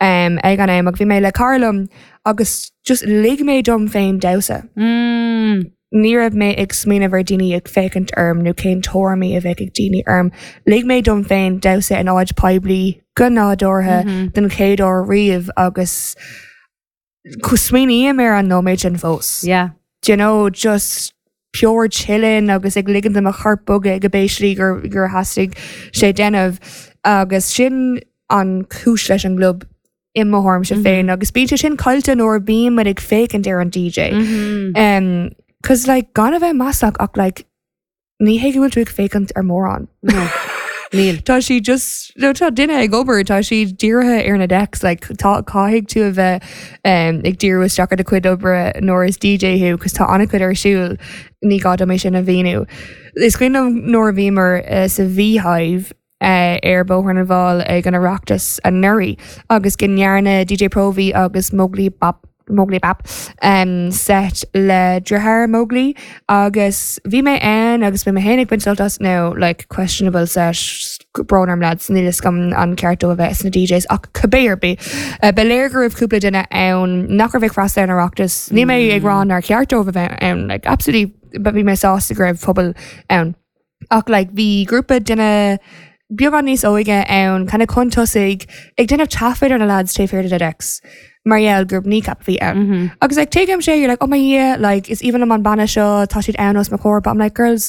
Speaker 3: um, ag an am ach bhí mé le cara liom agus just lig mé dom féin damhsa.
Speaker 4: Mm.
Speaker 3: Ní raibh mé ag smaoineamh ar daoine ag féachaint orm nó cén tuairimí a bheadh ag daoine orm. Lig mé dom féin damhsa in áit poiblí go nádúrtha den chéad uair riamh agus smaoiním ar an nóiméad sin fós.
Speaker 4: Yeah.
Speaker 3: Do you know, just pure chilling agus ag ligean do mo chorp bogadh go béislí gur gur theastaigh sé déanamh agus sin an chúis leis an gclub i mo thuairimse féin agus bíonn sé sin caillte nuair a bhíonn muid ag féachaint ar an DJ. Um, Cos like gan a bheith maslach ach like ní hé go bhfuil tú ag féachaint ar mórán.
Speaker 4: No. Níl.
Speaker 3: Tá sí just no, tá duine ag obair tá sí dírithe ar na decks like, tá caithfidh tú a bheith um, ag díriú isteach ar do chuid oibre nuair is DJ thú cos tá an-chuid ar siúl ní gá dom é sin a mhíniú. Is cuimhin liom nuair a bhíomar uh, sa Beehive uh, ar Bóthar na bhFál ag an Oireachtas anuraidh agus go ndearna DJ Provi agus Mowgli Bap Mowgli Bap um, set le deartháir Mowgli agus bhí mé ann agus bhí mé féin ag baint sult as now like questionable set brón orm lads níl a fhios agam an ceart dóibh a bheith sna DJs ach cibé ar bith. Uh, Ba léir go raibh cúpla duine ann nach raibh ag freastal ar an Oireachtas ní mé ag rá nár cheart dóibh a bheith ann like absolutely but bhí mé sásta go raibh pobal ann. Ach like bhí grúpa duine beagán níos óige ann kind of chun tosaigh ag déanamh taifead ar na lads taobh thiar de decks. Mar gheall gur Kneecap a bhí ann. Agus like tuigim sé you're like oh my yeah like is even an banna seo tá siad ann os mo chomhair but I'm like girls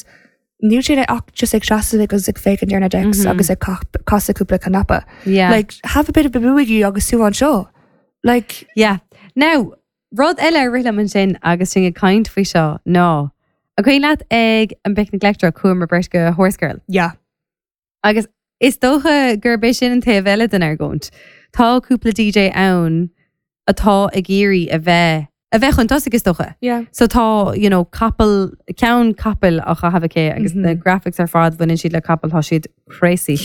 Speaker 3: níl siad ach just ag seasamh agus ag féachaint ar na decks agus ag casadh cúpla cnaipe.
Speaker 4: Yeah.
Speaker 3: Like have a bit of a boogie agus tú anseo. Like
Speaker 4: Yeah. Now, rud eile a rith liom ansin agus sinn ag caint faoi seo ná. An cuimhin leat ag an Picnic Electro chuamar beirt go Horsegirl.
Speaker 3: yeah.
Speaker 4: Agus is dócha gurb é sin an taobh eile den argóint. Tá cúpla DJ ann atá ag iarraidh a bheith a bheith chun tosaigh is dócha.
Speaker 3: Yeah.
Speaker 4: So tá you know, capall ceann capaill á chaitheamh aici agus mm -hmm. na graphics ar fad bhaineann siad le capall tá siad crazy.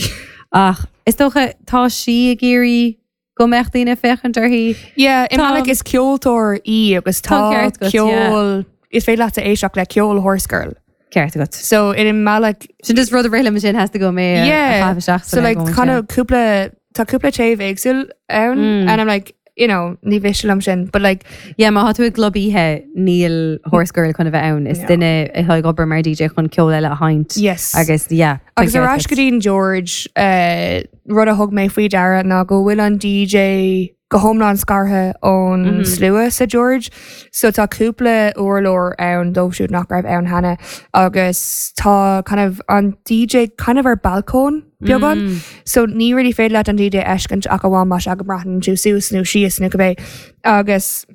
Speaker 4: Ach is dócha tá sí ag iarraidh go mbeadh daoine féachaint uirthi.
Speaker 3: Yeah, i mbealach is ceoltóir í agus tá ceol is féidir leat éisteacht le ceol Horsegirl.
Speaker 4: Ceart agat.
Speaker 3: So in mbealach
Speaker 4: sin just rud a rith liom sin has to go mé
Speaker 3: yeah. So like kind of cúpla tá cúpla taobh éagsúil ann mm. and I'm like you know, ní mhiste liom sin, but like
Speaker 4: Yeah, má tá tú ag club oíche níl Horsegirl chun a bheith ann is duine atá ag obair mar DJ chun ceol eile a sheinnt.
Speaker 3: Yes.
Speaker 4: Agus yeah.
Speaker 3: Agus ar ais go dtí'n George uh, rud a thug mé faoi deara ná go bhfuil an DJ go hiomlán scartha ón mm -hmm. slua sa George, so tá cúpla urlár ann dóibh siúd nach raibh ann cheana agus tá kind of an DJ kind of ar balcóin beagán, mm. so ní really féidir leat an DJ a fheiscint ach amháin más ea go mbraitheann tú suas nó síos nó cibé agus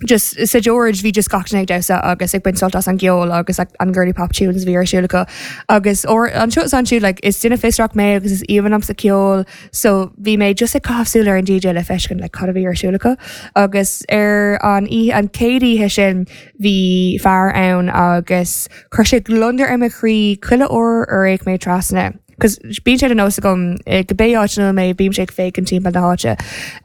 Speaker 3: just sa George bhí just gach duine ag damhsa agus ag baint sult as an gceol agus like, an girly pop tunes bhí ar siúl acu agus or anseo is ansiúd like, is duine fiosrach mé agus is aoibhinn liomsa ceol so bhí mé just ag caitheamh súil ar an DJ le feiscint like, cad a bhí ar siúl acu agus ar an oíche an chéad oíche sin bhí fear ann agus chuir sé gliondar ar mo chroí chuile uair ar fhéach mé trasna. Cos bíonn sé de nós agam eh, cibé áit ina mé bím sé ag féachaint timpeall na háite.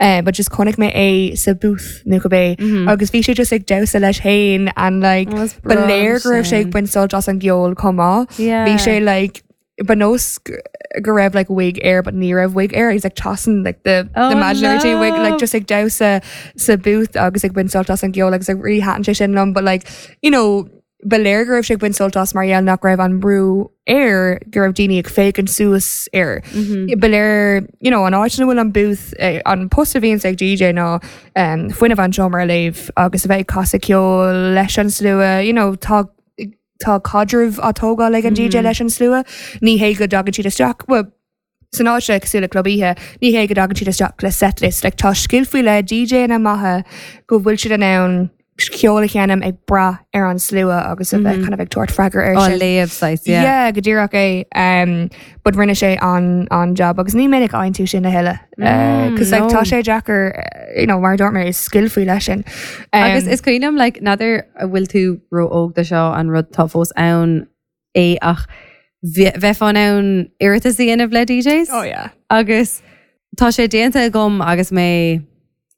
Speaker 3: Uh, but just chonaic mé é sa booth nó cibé mm -hmm. agus bhí sé just ag damhsa leis féin and like
Speaker 4: Oh, is
Speaker 3: ba
Speaker 4: breá
Speaker 3: léir go raibh sé ag
Speaker 4: sin.
Speaker 3: baint sult as an gceol chomh maith.
Speaker 4: Yeah.
Speaker 3: Bhí sé like ba nós go raibh like wig air but ní raibh wig air he's like tossing like the,
Speaker 4: Oh,
Speaker 3: the imaginary wig like
Speaker 4: no.
Speaker 3: just ag damhsa sa booth agus ag baint sult as an gceol agus like really thaitin sé sin liom but like you know ba léir go raibh sé ag baint sult as mar gheall nach raibh an brú air go raibh daoine ag féachaint suas air.
Speaker 4: Mm-hmm.
Speaker 3: Ba léir you know, an áit ina bhfuil an booth eh, an post a bhíonns ag DJ ná um, fuinneamh an seomra a léamh agus a bheith ag casadh ceol leis an slua, you know, tá tá caidreamh á tógáil ag an DJ leis an slua, ní hé go dtagann siad isteach well, san áit se cosúil le club oíche, ní hé go dtagann siad isteach le setlist, like, tá scil faoi leith DJ na maithe go bhfuil siad in ann ceol a sheinm ag brath ar an slua agus a bheith kind of ag tabhairt freagra ar
Speaker 4: Á
Speaker 3: sin.
Speaker 4: léamh saghas, yeah.
Speaker 3: Yeah, go díreach é um, but rinne sé an an job agus ní minic a fhaigheann tú sin a thuilleadh
Speaker 4: Mm,
Speaker 3: cos like,
Speaker 4: no.
Speaker 3: tá sé deacair uh, you know, mar dúirt mé is scil faoi leith sin. Um,
Speaker 4: Agus is cuimhin liom like, n'fheadar an bhfuil tú ró-óg do seo an rud tá fós ann é ach bhe- bheifeá in ann iarratas a dhéanamh le DJs?
Speaker 3: Oh yeah.
Speaker 4: Agus tá sé déanta agam agus mé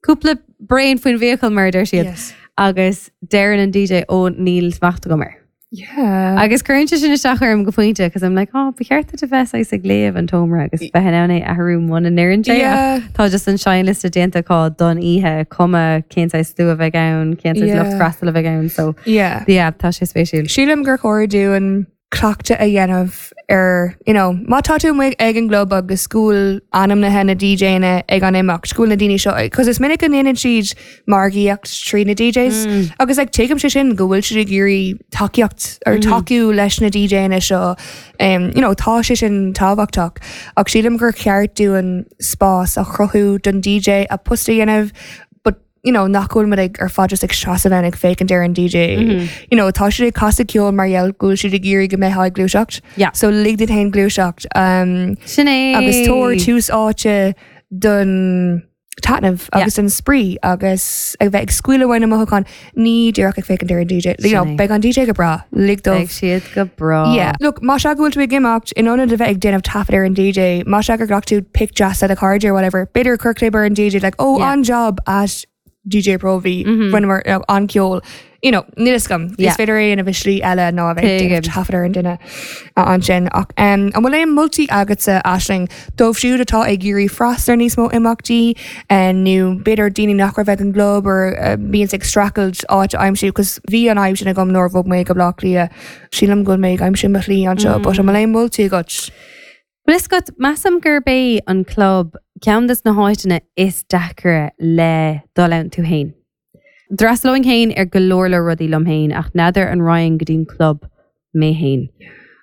Speaker 4: cúpla braon faoin bhfiacail mar a deir siad.
Speaker 3: Yes.
Speaker 4: Agus deireann an DJ ó níl smacht agam air.
Speaker 3: Yeah.
Speaker 4: Agus cuireann sé sin isteach orm go pointe, cos I'm like, oh, ba cheart duit a bheith saghas ag léamh an tseomra agus bheith in ann é athrú muna n-oireann sé.
Speaker 3: Yeah.
Speaker 4: Tá just an seinnliosta déanta acu don oíche cuma cén saghas slua a bheidh ann, cén saghas
Speaker 3: Yeah.
Speaker 4: lucht freastail a bheidh ann, so
Speaker 3: Yeah.
Speaker 4: yeah, tá sé spéisiúil.
Speaker 3: Sílim gur chóir dúinn cleachtadh a dhéanamh ar you know, má tá tú amuigh ag an gclub agus go bhfuil ainmnithe na DJanna ag an imeacht, go bhfuil na daoine seo, cos is minic go ndéanann siad margaíocht trí na DJs mm. agus like, tuigim sé sin go bhfuil siad ag iarraidh tacaíocht ar mm. tacú leis na DJanna seo um, you know, tá sé sin tábhachtach ach sílim gur ceart dúinn spás a chruthú don DJ a post a dhéanamh but you know, nach bhfuil muid ag ar fad just ag seasamh ann ag féachaint ar an DJ. Mm -hmm. You know, tá siad ag casadh ceol mar gheall go bhfuil siad ag iarraidh go mbeifeá ag gluaiseacht.
Speaker 4: Yeah.
Speaker 3: So lig duit féin gluaiseacht. Um,
Speaker 4: Sin é.
Speaker 3: agus tabhair tús áite don taitneamh agus an spraoi agus ag bheith ag scaoileadh uaidh na mothúcháin ní díreach ag féachaint ar an DJ. You know,
Speaker 4: Sin é.
Speaker 3: beidh an DJ go breá, lig dóibh.
Speaker 4: Beidh siad go breá.
Speaker 3: Yeah. Look, má sea go bhfuil tú ag imeacht in ionad a bheith ag déanamh taifead ar an DJ, má sea gur ghlac tú pic deas le do chairde or whatever, b'fhéidir cuir clib ar an DJ like, oh,
Speaker 4: Yeah.
Speaker 3: an job at DJ Provi mm -hmm. rinneamar you know, an ceol. You know, níl a fhios agam.
Speaker 4: Yeah.
Speaker 3: Is féidir é a dhéanamh i slí eile ná a bheith ag déanamh
Speaker 4: Tuigim.
Speaker 3: taifead ar an duine ansin ach um, an bhfuil aon moltaí agatsa Aisling dóibh siúd atá ag iarraidh freastal ar níos mó imeachtaí uh, nó b'fhéidir daoine nach raibh ag an gclub or uh, bíonn ag streachailt áit a aimsiú, cos bhí an fhadhb sin agam nuair a bhog mé go Bleá Cliath. Sílim go bhfuil mé ag aimsiú mo shlí anseo, mm. but an bhfuil aon moltaí agat.
Speaker 4: Well, is go measaim gurb é an club ceann des na háiteanna is deacra le dul ann tú féin. D'fhreastalóinn féin ar go leor le rudaí liom féin ach n'fheadar an raghainn go dtí'n club mé féin.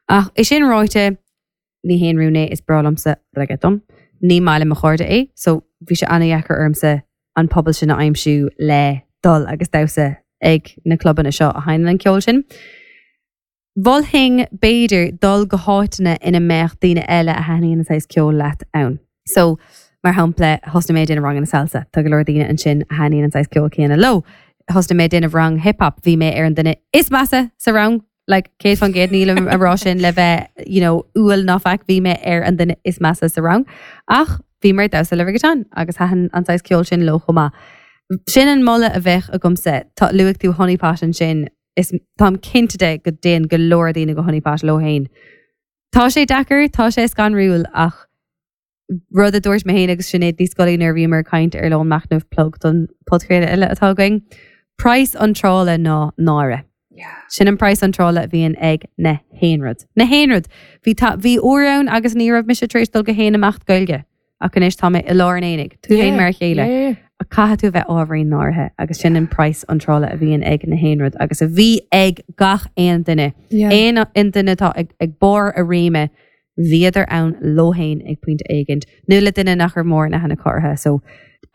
Speaker 4: Ach é sin ráite ní haon rún é is breá liomsa reggaeton. Ní maith le mo chairde é, so bhí sé an-deacair ormsa an pobal sin a aimsiú le dul agus damhsa ag na clubanna seo a sheinneann an ceol sin. Mholfainn b'fhéidir dul go háiteanna ina mbeadh daoine eile a thaitníonn an saghas ceol leat ann. So mar shampla thosnaigh mé déanamh ranganna salsa, Tá go leor daoine ansin a thaitníonn an saghas ceol céanna leo. Thosnaigh mé déanamh rang hip-hop, bhí mé ar an duine is measa sa rang, like céad faoin gcéad nílim ag rá sin le bheith you know, umhal ná faic bhí mé ar an duine is measa sa rang. Ach bhí mar damhsa le rigatán agus thaitin an saghas ceol sin leo chomh maith. Sin an moladh a bheadh agamsa tá luaigh tú Honey Pot ansin is táim cinnte de go dtéann go leor daoine go Honey Pot leo féin. Tá sé deacair, tá sé scanrúil ach rud a dúirt mé féin agus Sinéad Ní Scolaí nuair a bhíomar ag caint ar lón machnamh plug don podchraoladh eile atá againn. Praghas iontrála ná náire. Sin an praghas iontrála a bhíonn ag na haon rud. Na haon rud. Bhí bhí uair ann agus ní raibh mise tar éis dul go haon imeacht Gaeilge. Ach anois tá mé i lár an aonaigh, tú féin mar a chéile. A caithfidh tú bheith ábhairín náirithe agus sin an praghas iontrála a bhíonn ag na haon rud agus a bhí ag gach aon duine. Aon aon duine atá ag, ag barr a réime bhíodar ann leo féin ag pointe éigin. Nó le duine nach raibh mórán aithne acu orthu. So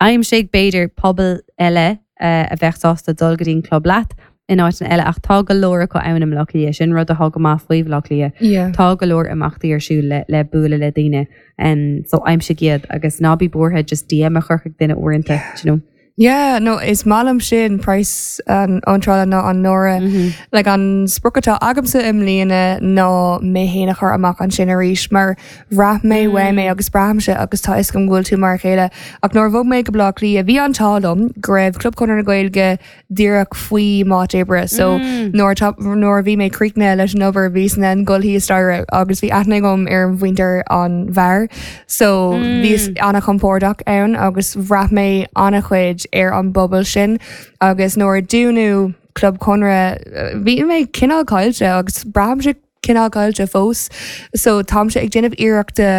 Speaker 4: aimsigh b'fhéidir pobal eile uh, a bheith sásta dul go dtí an club leat in áiteanna eile ach tá go leor acu ann i mBleá Cliath sin rud atá go maith faoi Bhleá Cliath.
Speaker 3: Yeah.
Speaker 4: Tá go leor imeachtaí ar siúl le, le bualadh le daoine um, so aimsigh iad agus ná bí buartha just DM a chur chuig duine uaireanta yeah. you know.
Speaker 3: Yeah, no, is maith liom sin praghas an iontrála ná an náire. Mm -hmm. Like an sprioc atá agamsa i mbliana ná mé féin a chur amach ansin arís mar bhraith mé mm. uaim é agus braithimse agus tá is go bhfuil tú mar a chéile. Ach nuair a bhog mé go Bleá Cliath bhí an t-ádh liom go raibh Club Chonradh na Gaeilge díreach faoi m'áit oibre, so mm. nuair nuair a bhí mé críochnaithe leis an obair bhíos in ann dul thíos staighre agus bhí aithne agam ar an mhuintir an bheáir, so mm. bhíos an-chompordach ann agus bhraith mé an-chuid ar an bpobal sin agus nuair a dúnadh Club Chonradh bhí mé cineál caillte agus braithimse cineál caillte fós so táimse ag déanamh iarrachta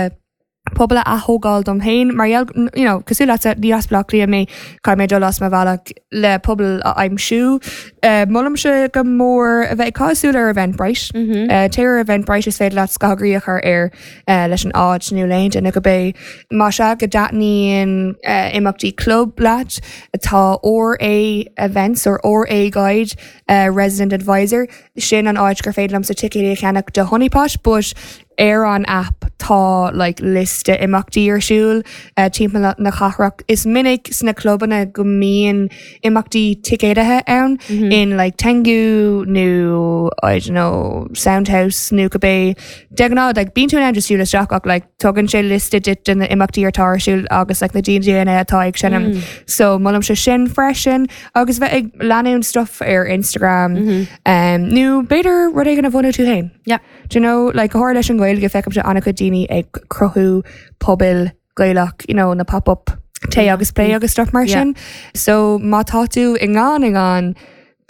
Speaker 3: pobal a athógáil dom féin mar you know, cosúil leat ní as Bleá Cliath mé caithfidh mé dul as mo bhealach le pobal a aimsiú. Uh, Molaimse go mór a bheith ag caitheamh súil ar Eventbrite. Mm -hmm. uh, Téir ar Eventbrite is féidir leat scagairí a chur air uh, leis an áit nó le duine go bé Má sea go dtaitníonn uh, imeachtaí club leat atá RA events or RA guide uh, resident advisor sin an áit gur féidir liomsa ticéid a cheannach do Honeypot, but ar an app tá like, liosta imeachtaí ar siúl uh, timpeall na cathrach. Is minic sna clubanna go mbíonn imeachtaí ticéadaithe ann mm -hmm. in like, Tengu nó I don't know, Soundhouse nó cibé De ghnáth like, bíonn tú in ann just siúl isteach ach like, tugann sé liosta duit de na imeachtaí atá ar siúl agus like, na DJanna atá ag seinm. Mm. So molaimse sin freisin agus bheith ag leanúint stuff ar Instagram mm -hmm. um, nó b'fhéidir rud éigin a bhunú tú féin.
Speaker 4: Yeah.
Speaker 3: Do you know, like go háirithe leis an Ghaeilge feicimse an-chuid daoine ag cruthú pobail Gaelach, you know, na pop-up tae agus plé agus stuff mar sin. So má tá tú i ngan i ngan,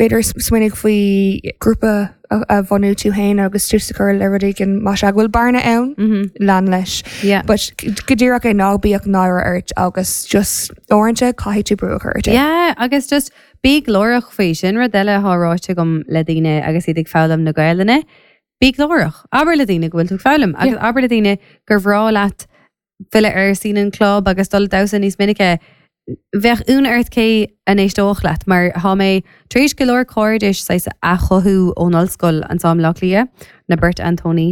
Speaker 3: b'fhéidir smaoinigh faoi grúpa a, a bhunú tú féin agus tús a chur le rud éigin má sea go bhfuil bearna ann mm -hmm. lean leis.
Speaker 4: Yeah.
Speaker 3: But go díreach é ná bíodh náire ort agus just uaireanta caithfidh tú brú a chur ort.
Speaker 4: Yeah, agus just bí glórach faoi sin rud eile atá ráite agam le daoine agus iad ag foghlaim na Gaelainne. Bí glórach, abair le daoine go bhfuil tú ag foghlaim agus yeah. abair le daoine gur bhreá leat filleadh ar scene an club agus dul damhsa níos minice. Bheadh ionadh ort cé a n-éisteodh leat mar tá mé tar éis go leor cairdis saghas a chothú ón ollscoil anseo i mBleá Cliath na beirt Antony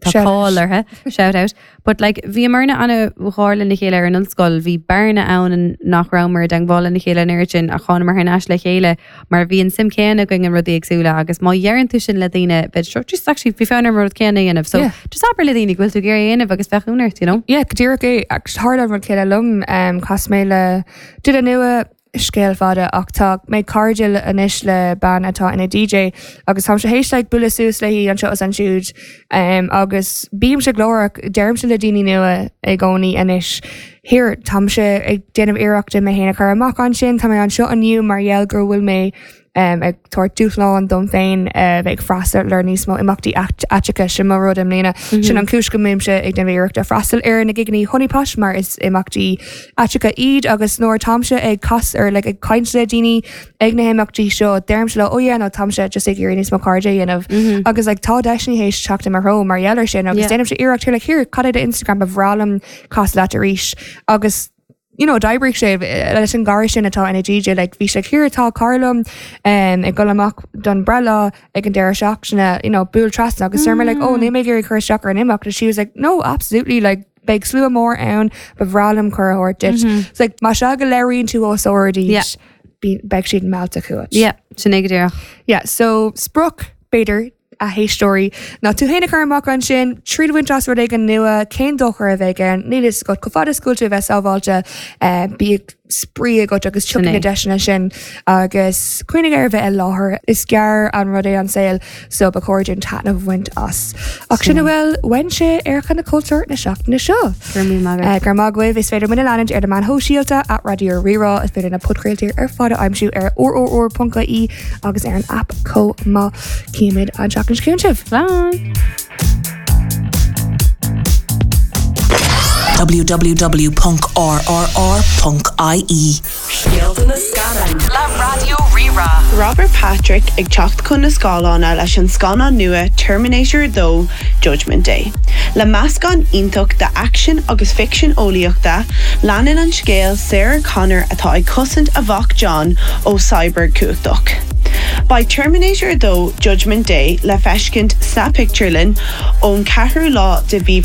Speaker 4: tá cáil orthu shout out but like bhíomarna an-ghar lena chéile ar an ollscoil bhí bearna ann nach rabhamar i dteagmháil lena chéile an oiread sin ach thángamar thar n-ais le chéile mar bhí an suim céanna againn in rudaí éagsúla agus má dheireann tú sin le daoine bheadh seo just actually bhí fonn orm rud céanna a dhéanamh so
Speaker 3: Yeah.
Speaker 4: just abair le daoine go bhfuil tú ag iarraidh a dhéanamh agus bheadh ionadh ort you know
Speaker 3: Yeah, go díreach é ach tharla an rud céanna liom um, chas mé le duine nua scéal fada ach tá mé cairdiúil anois le bean atá ina DJ agus táim tar éis like, bualadh suas léi anseo is ansiúd um, agus bímse glórach deirimse le daoine nua i gcónaí anois. Here táimse ag déanamh iarrachta mé féin a chur amach ansin tá mé anseo inniu mar gheall gur bhfuil mé um, ag tabhairt dúshlán dom féin uh, bheith ag freastal ar níos mó imeachtaí aiteacha sin mo rud i mbliana mm -hmm. sin an chúis go mbímse ag déanamh iarrachta freastal ar na gigeanna Honeypot mar is imeachtaí aiteacha iad agus nuair táimse ag cas ar like, ag caint le daoine ag na himeachtaí seo deirimse leo oh yeah, no táimse just ag iarraidh níos mó cairde a dhéanamh mm -hmm. agus like, tá deiseanna théis teacht i mo threo mar gheall air sin agus
Speaker 4: Yeah.
Speaker 3: déanaimse iarracht like, here cad é do Instagram ba bhreá liom casadh leat arís agus you know d'oibrigh sé eh, leis an gcara sin atá ina DJ like bhí sé here tá cara liom um, ag dul amach don breithlá ag an deireadh seachtaine you know buail trasna agus mm. like oh ní mé ag cur isteach ar an imeacht and she was like no absolutely like beidh slua mór ann ba bhreá liom cuireadh a thabhairt duit. Mm -hmm. like má sea go léiríonn tú os ard
Speaker 4: Yeah.
Speaker 3: beidh siad meallta chugat.
Speaker 4: Yeah, sin é go díreach.
Speaker 3: Yeah, so sprioc b'fhéidir a héisteoirí ná tú féin a chur amach ansin triail a bhaint as rud éigin nua cén dochar a bheidh ann níl a fhios agat chomh fada is go bhfuil tú a bheith sábháilte eh, bíodh spraoi agat agus tiocfaidh na
Speaker 4: é.
Speaker 3: deiseanna sin agus cuimhnigh ar bheith i láthair is gearr an rud é an saol so ba chóir dúinn taitneamh a bhaint as. Ach sin a bhfuil uaimse ar Choinne Cultúir na seachtaine seo.
Speaker 4: Gur mí maith.
Speaker 3: Uh, Gur maith is féidir muid a leanúint ar na meáin shóisialta at Raidió Rí-Rá is féidir na podchraoltaí ar fad a aimsiú ar rrr.ie agus ar an app chomh maith címid an seachtain seo chugainn sibh.
Speaker 4: Slán.
Speaker 5: www.rrr.ie
Speaker 6: Scéalta na scannán
Speaker 5: Le Raidió Rí-Rá.
Speaker 7: Robert Patrick ag teacht chun na scáileáin leis an scannán nua Terminator dó Judgment Day. Le meascán iontach de action agus ficsean eolaíochta, leanann an scéal Sarah Connor atá ag cosaint a mhac John ó cyborg cumhachtach. Beidh Terminator dó Judgment Day le feiscint sa pictiúrlann ón ceathrú lá de mhí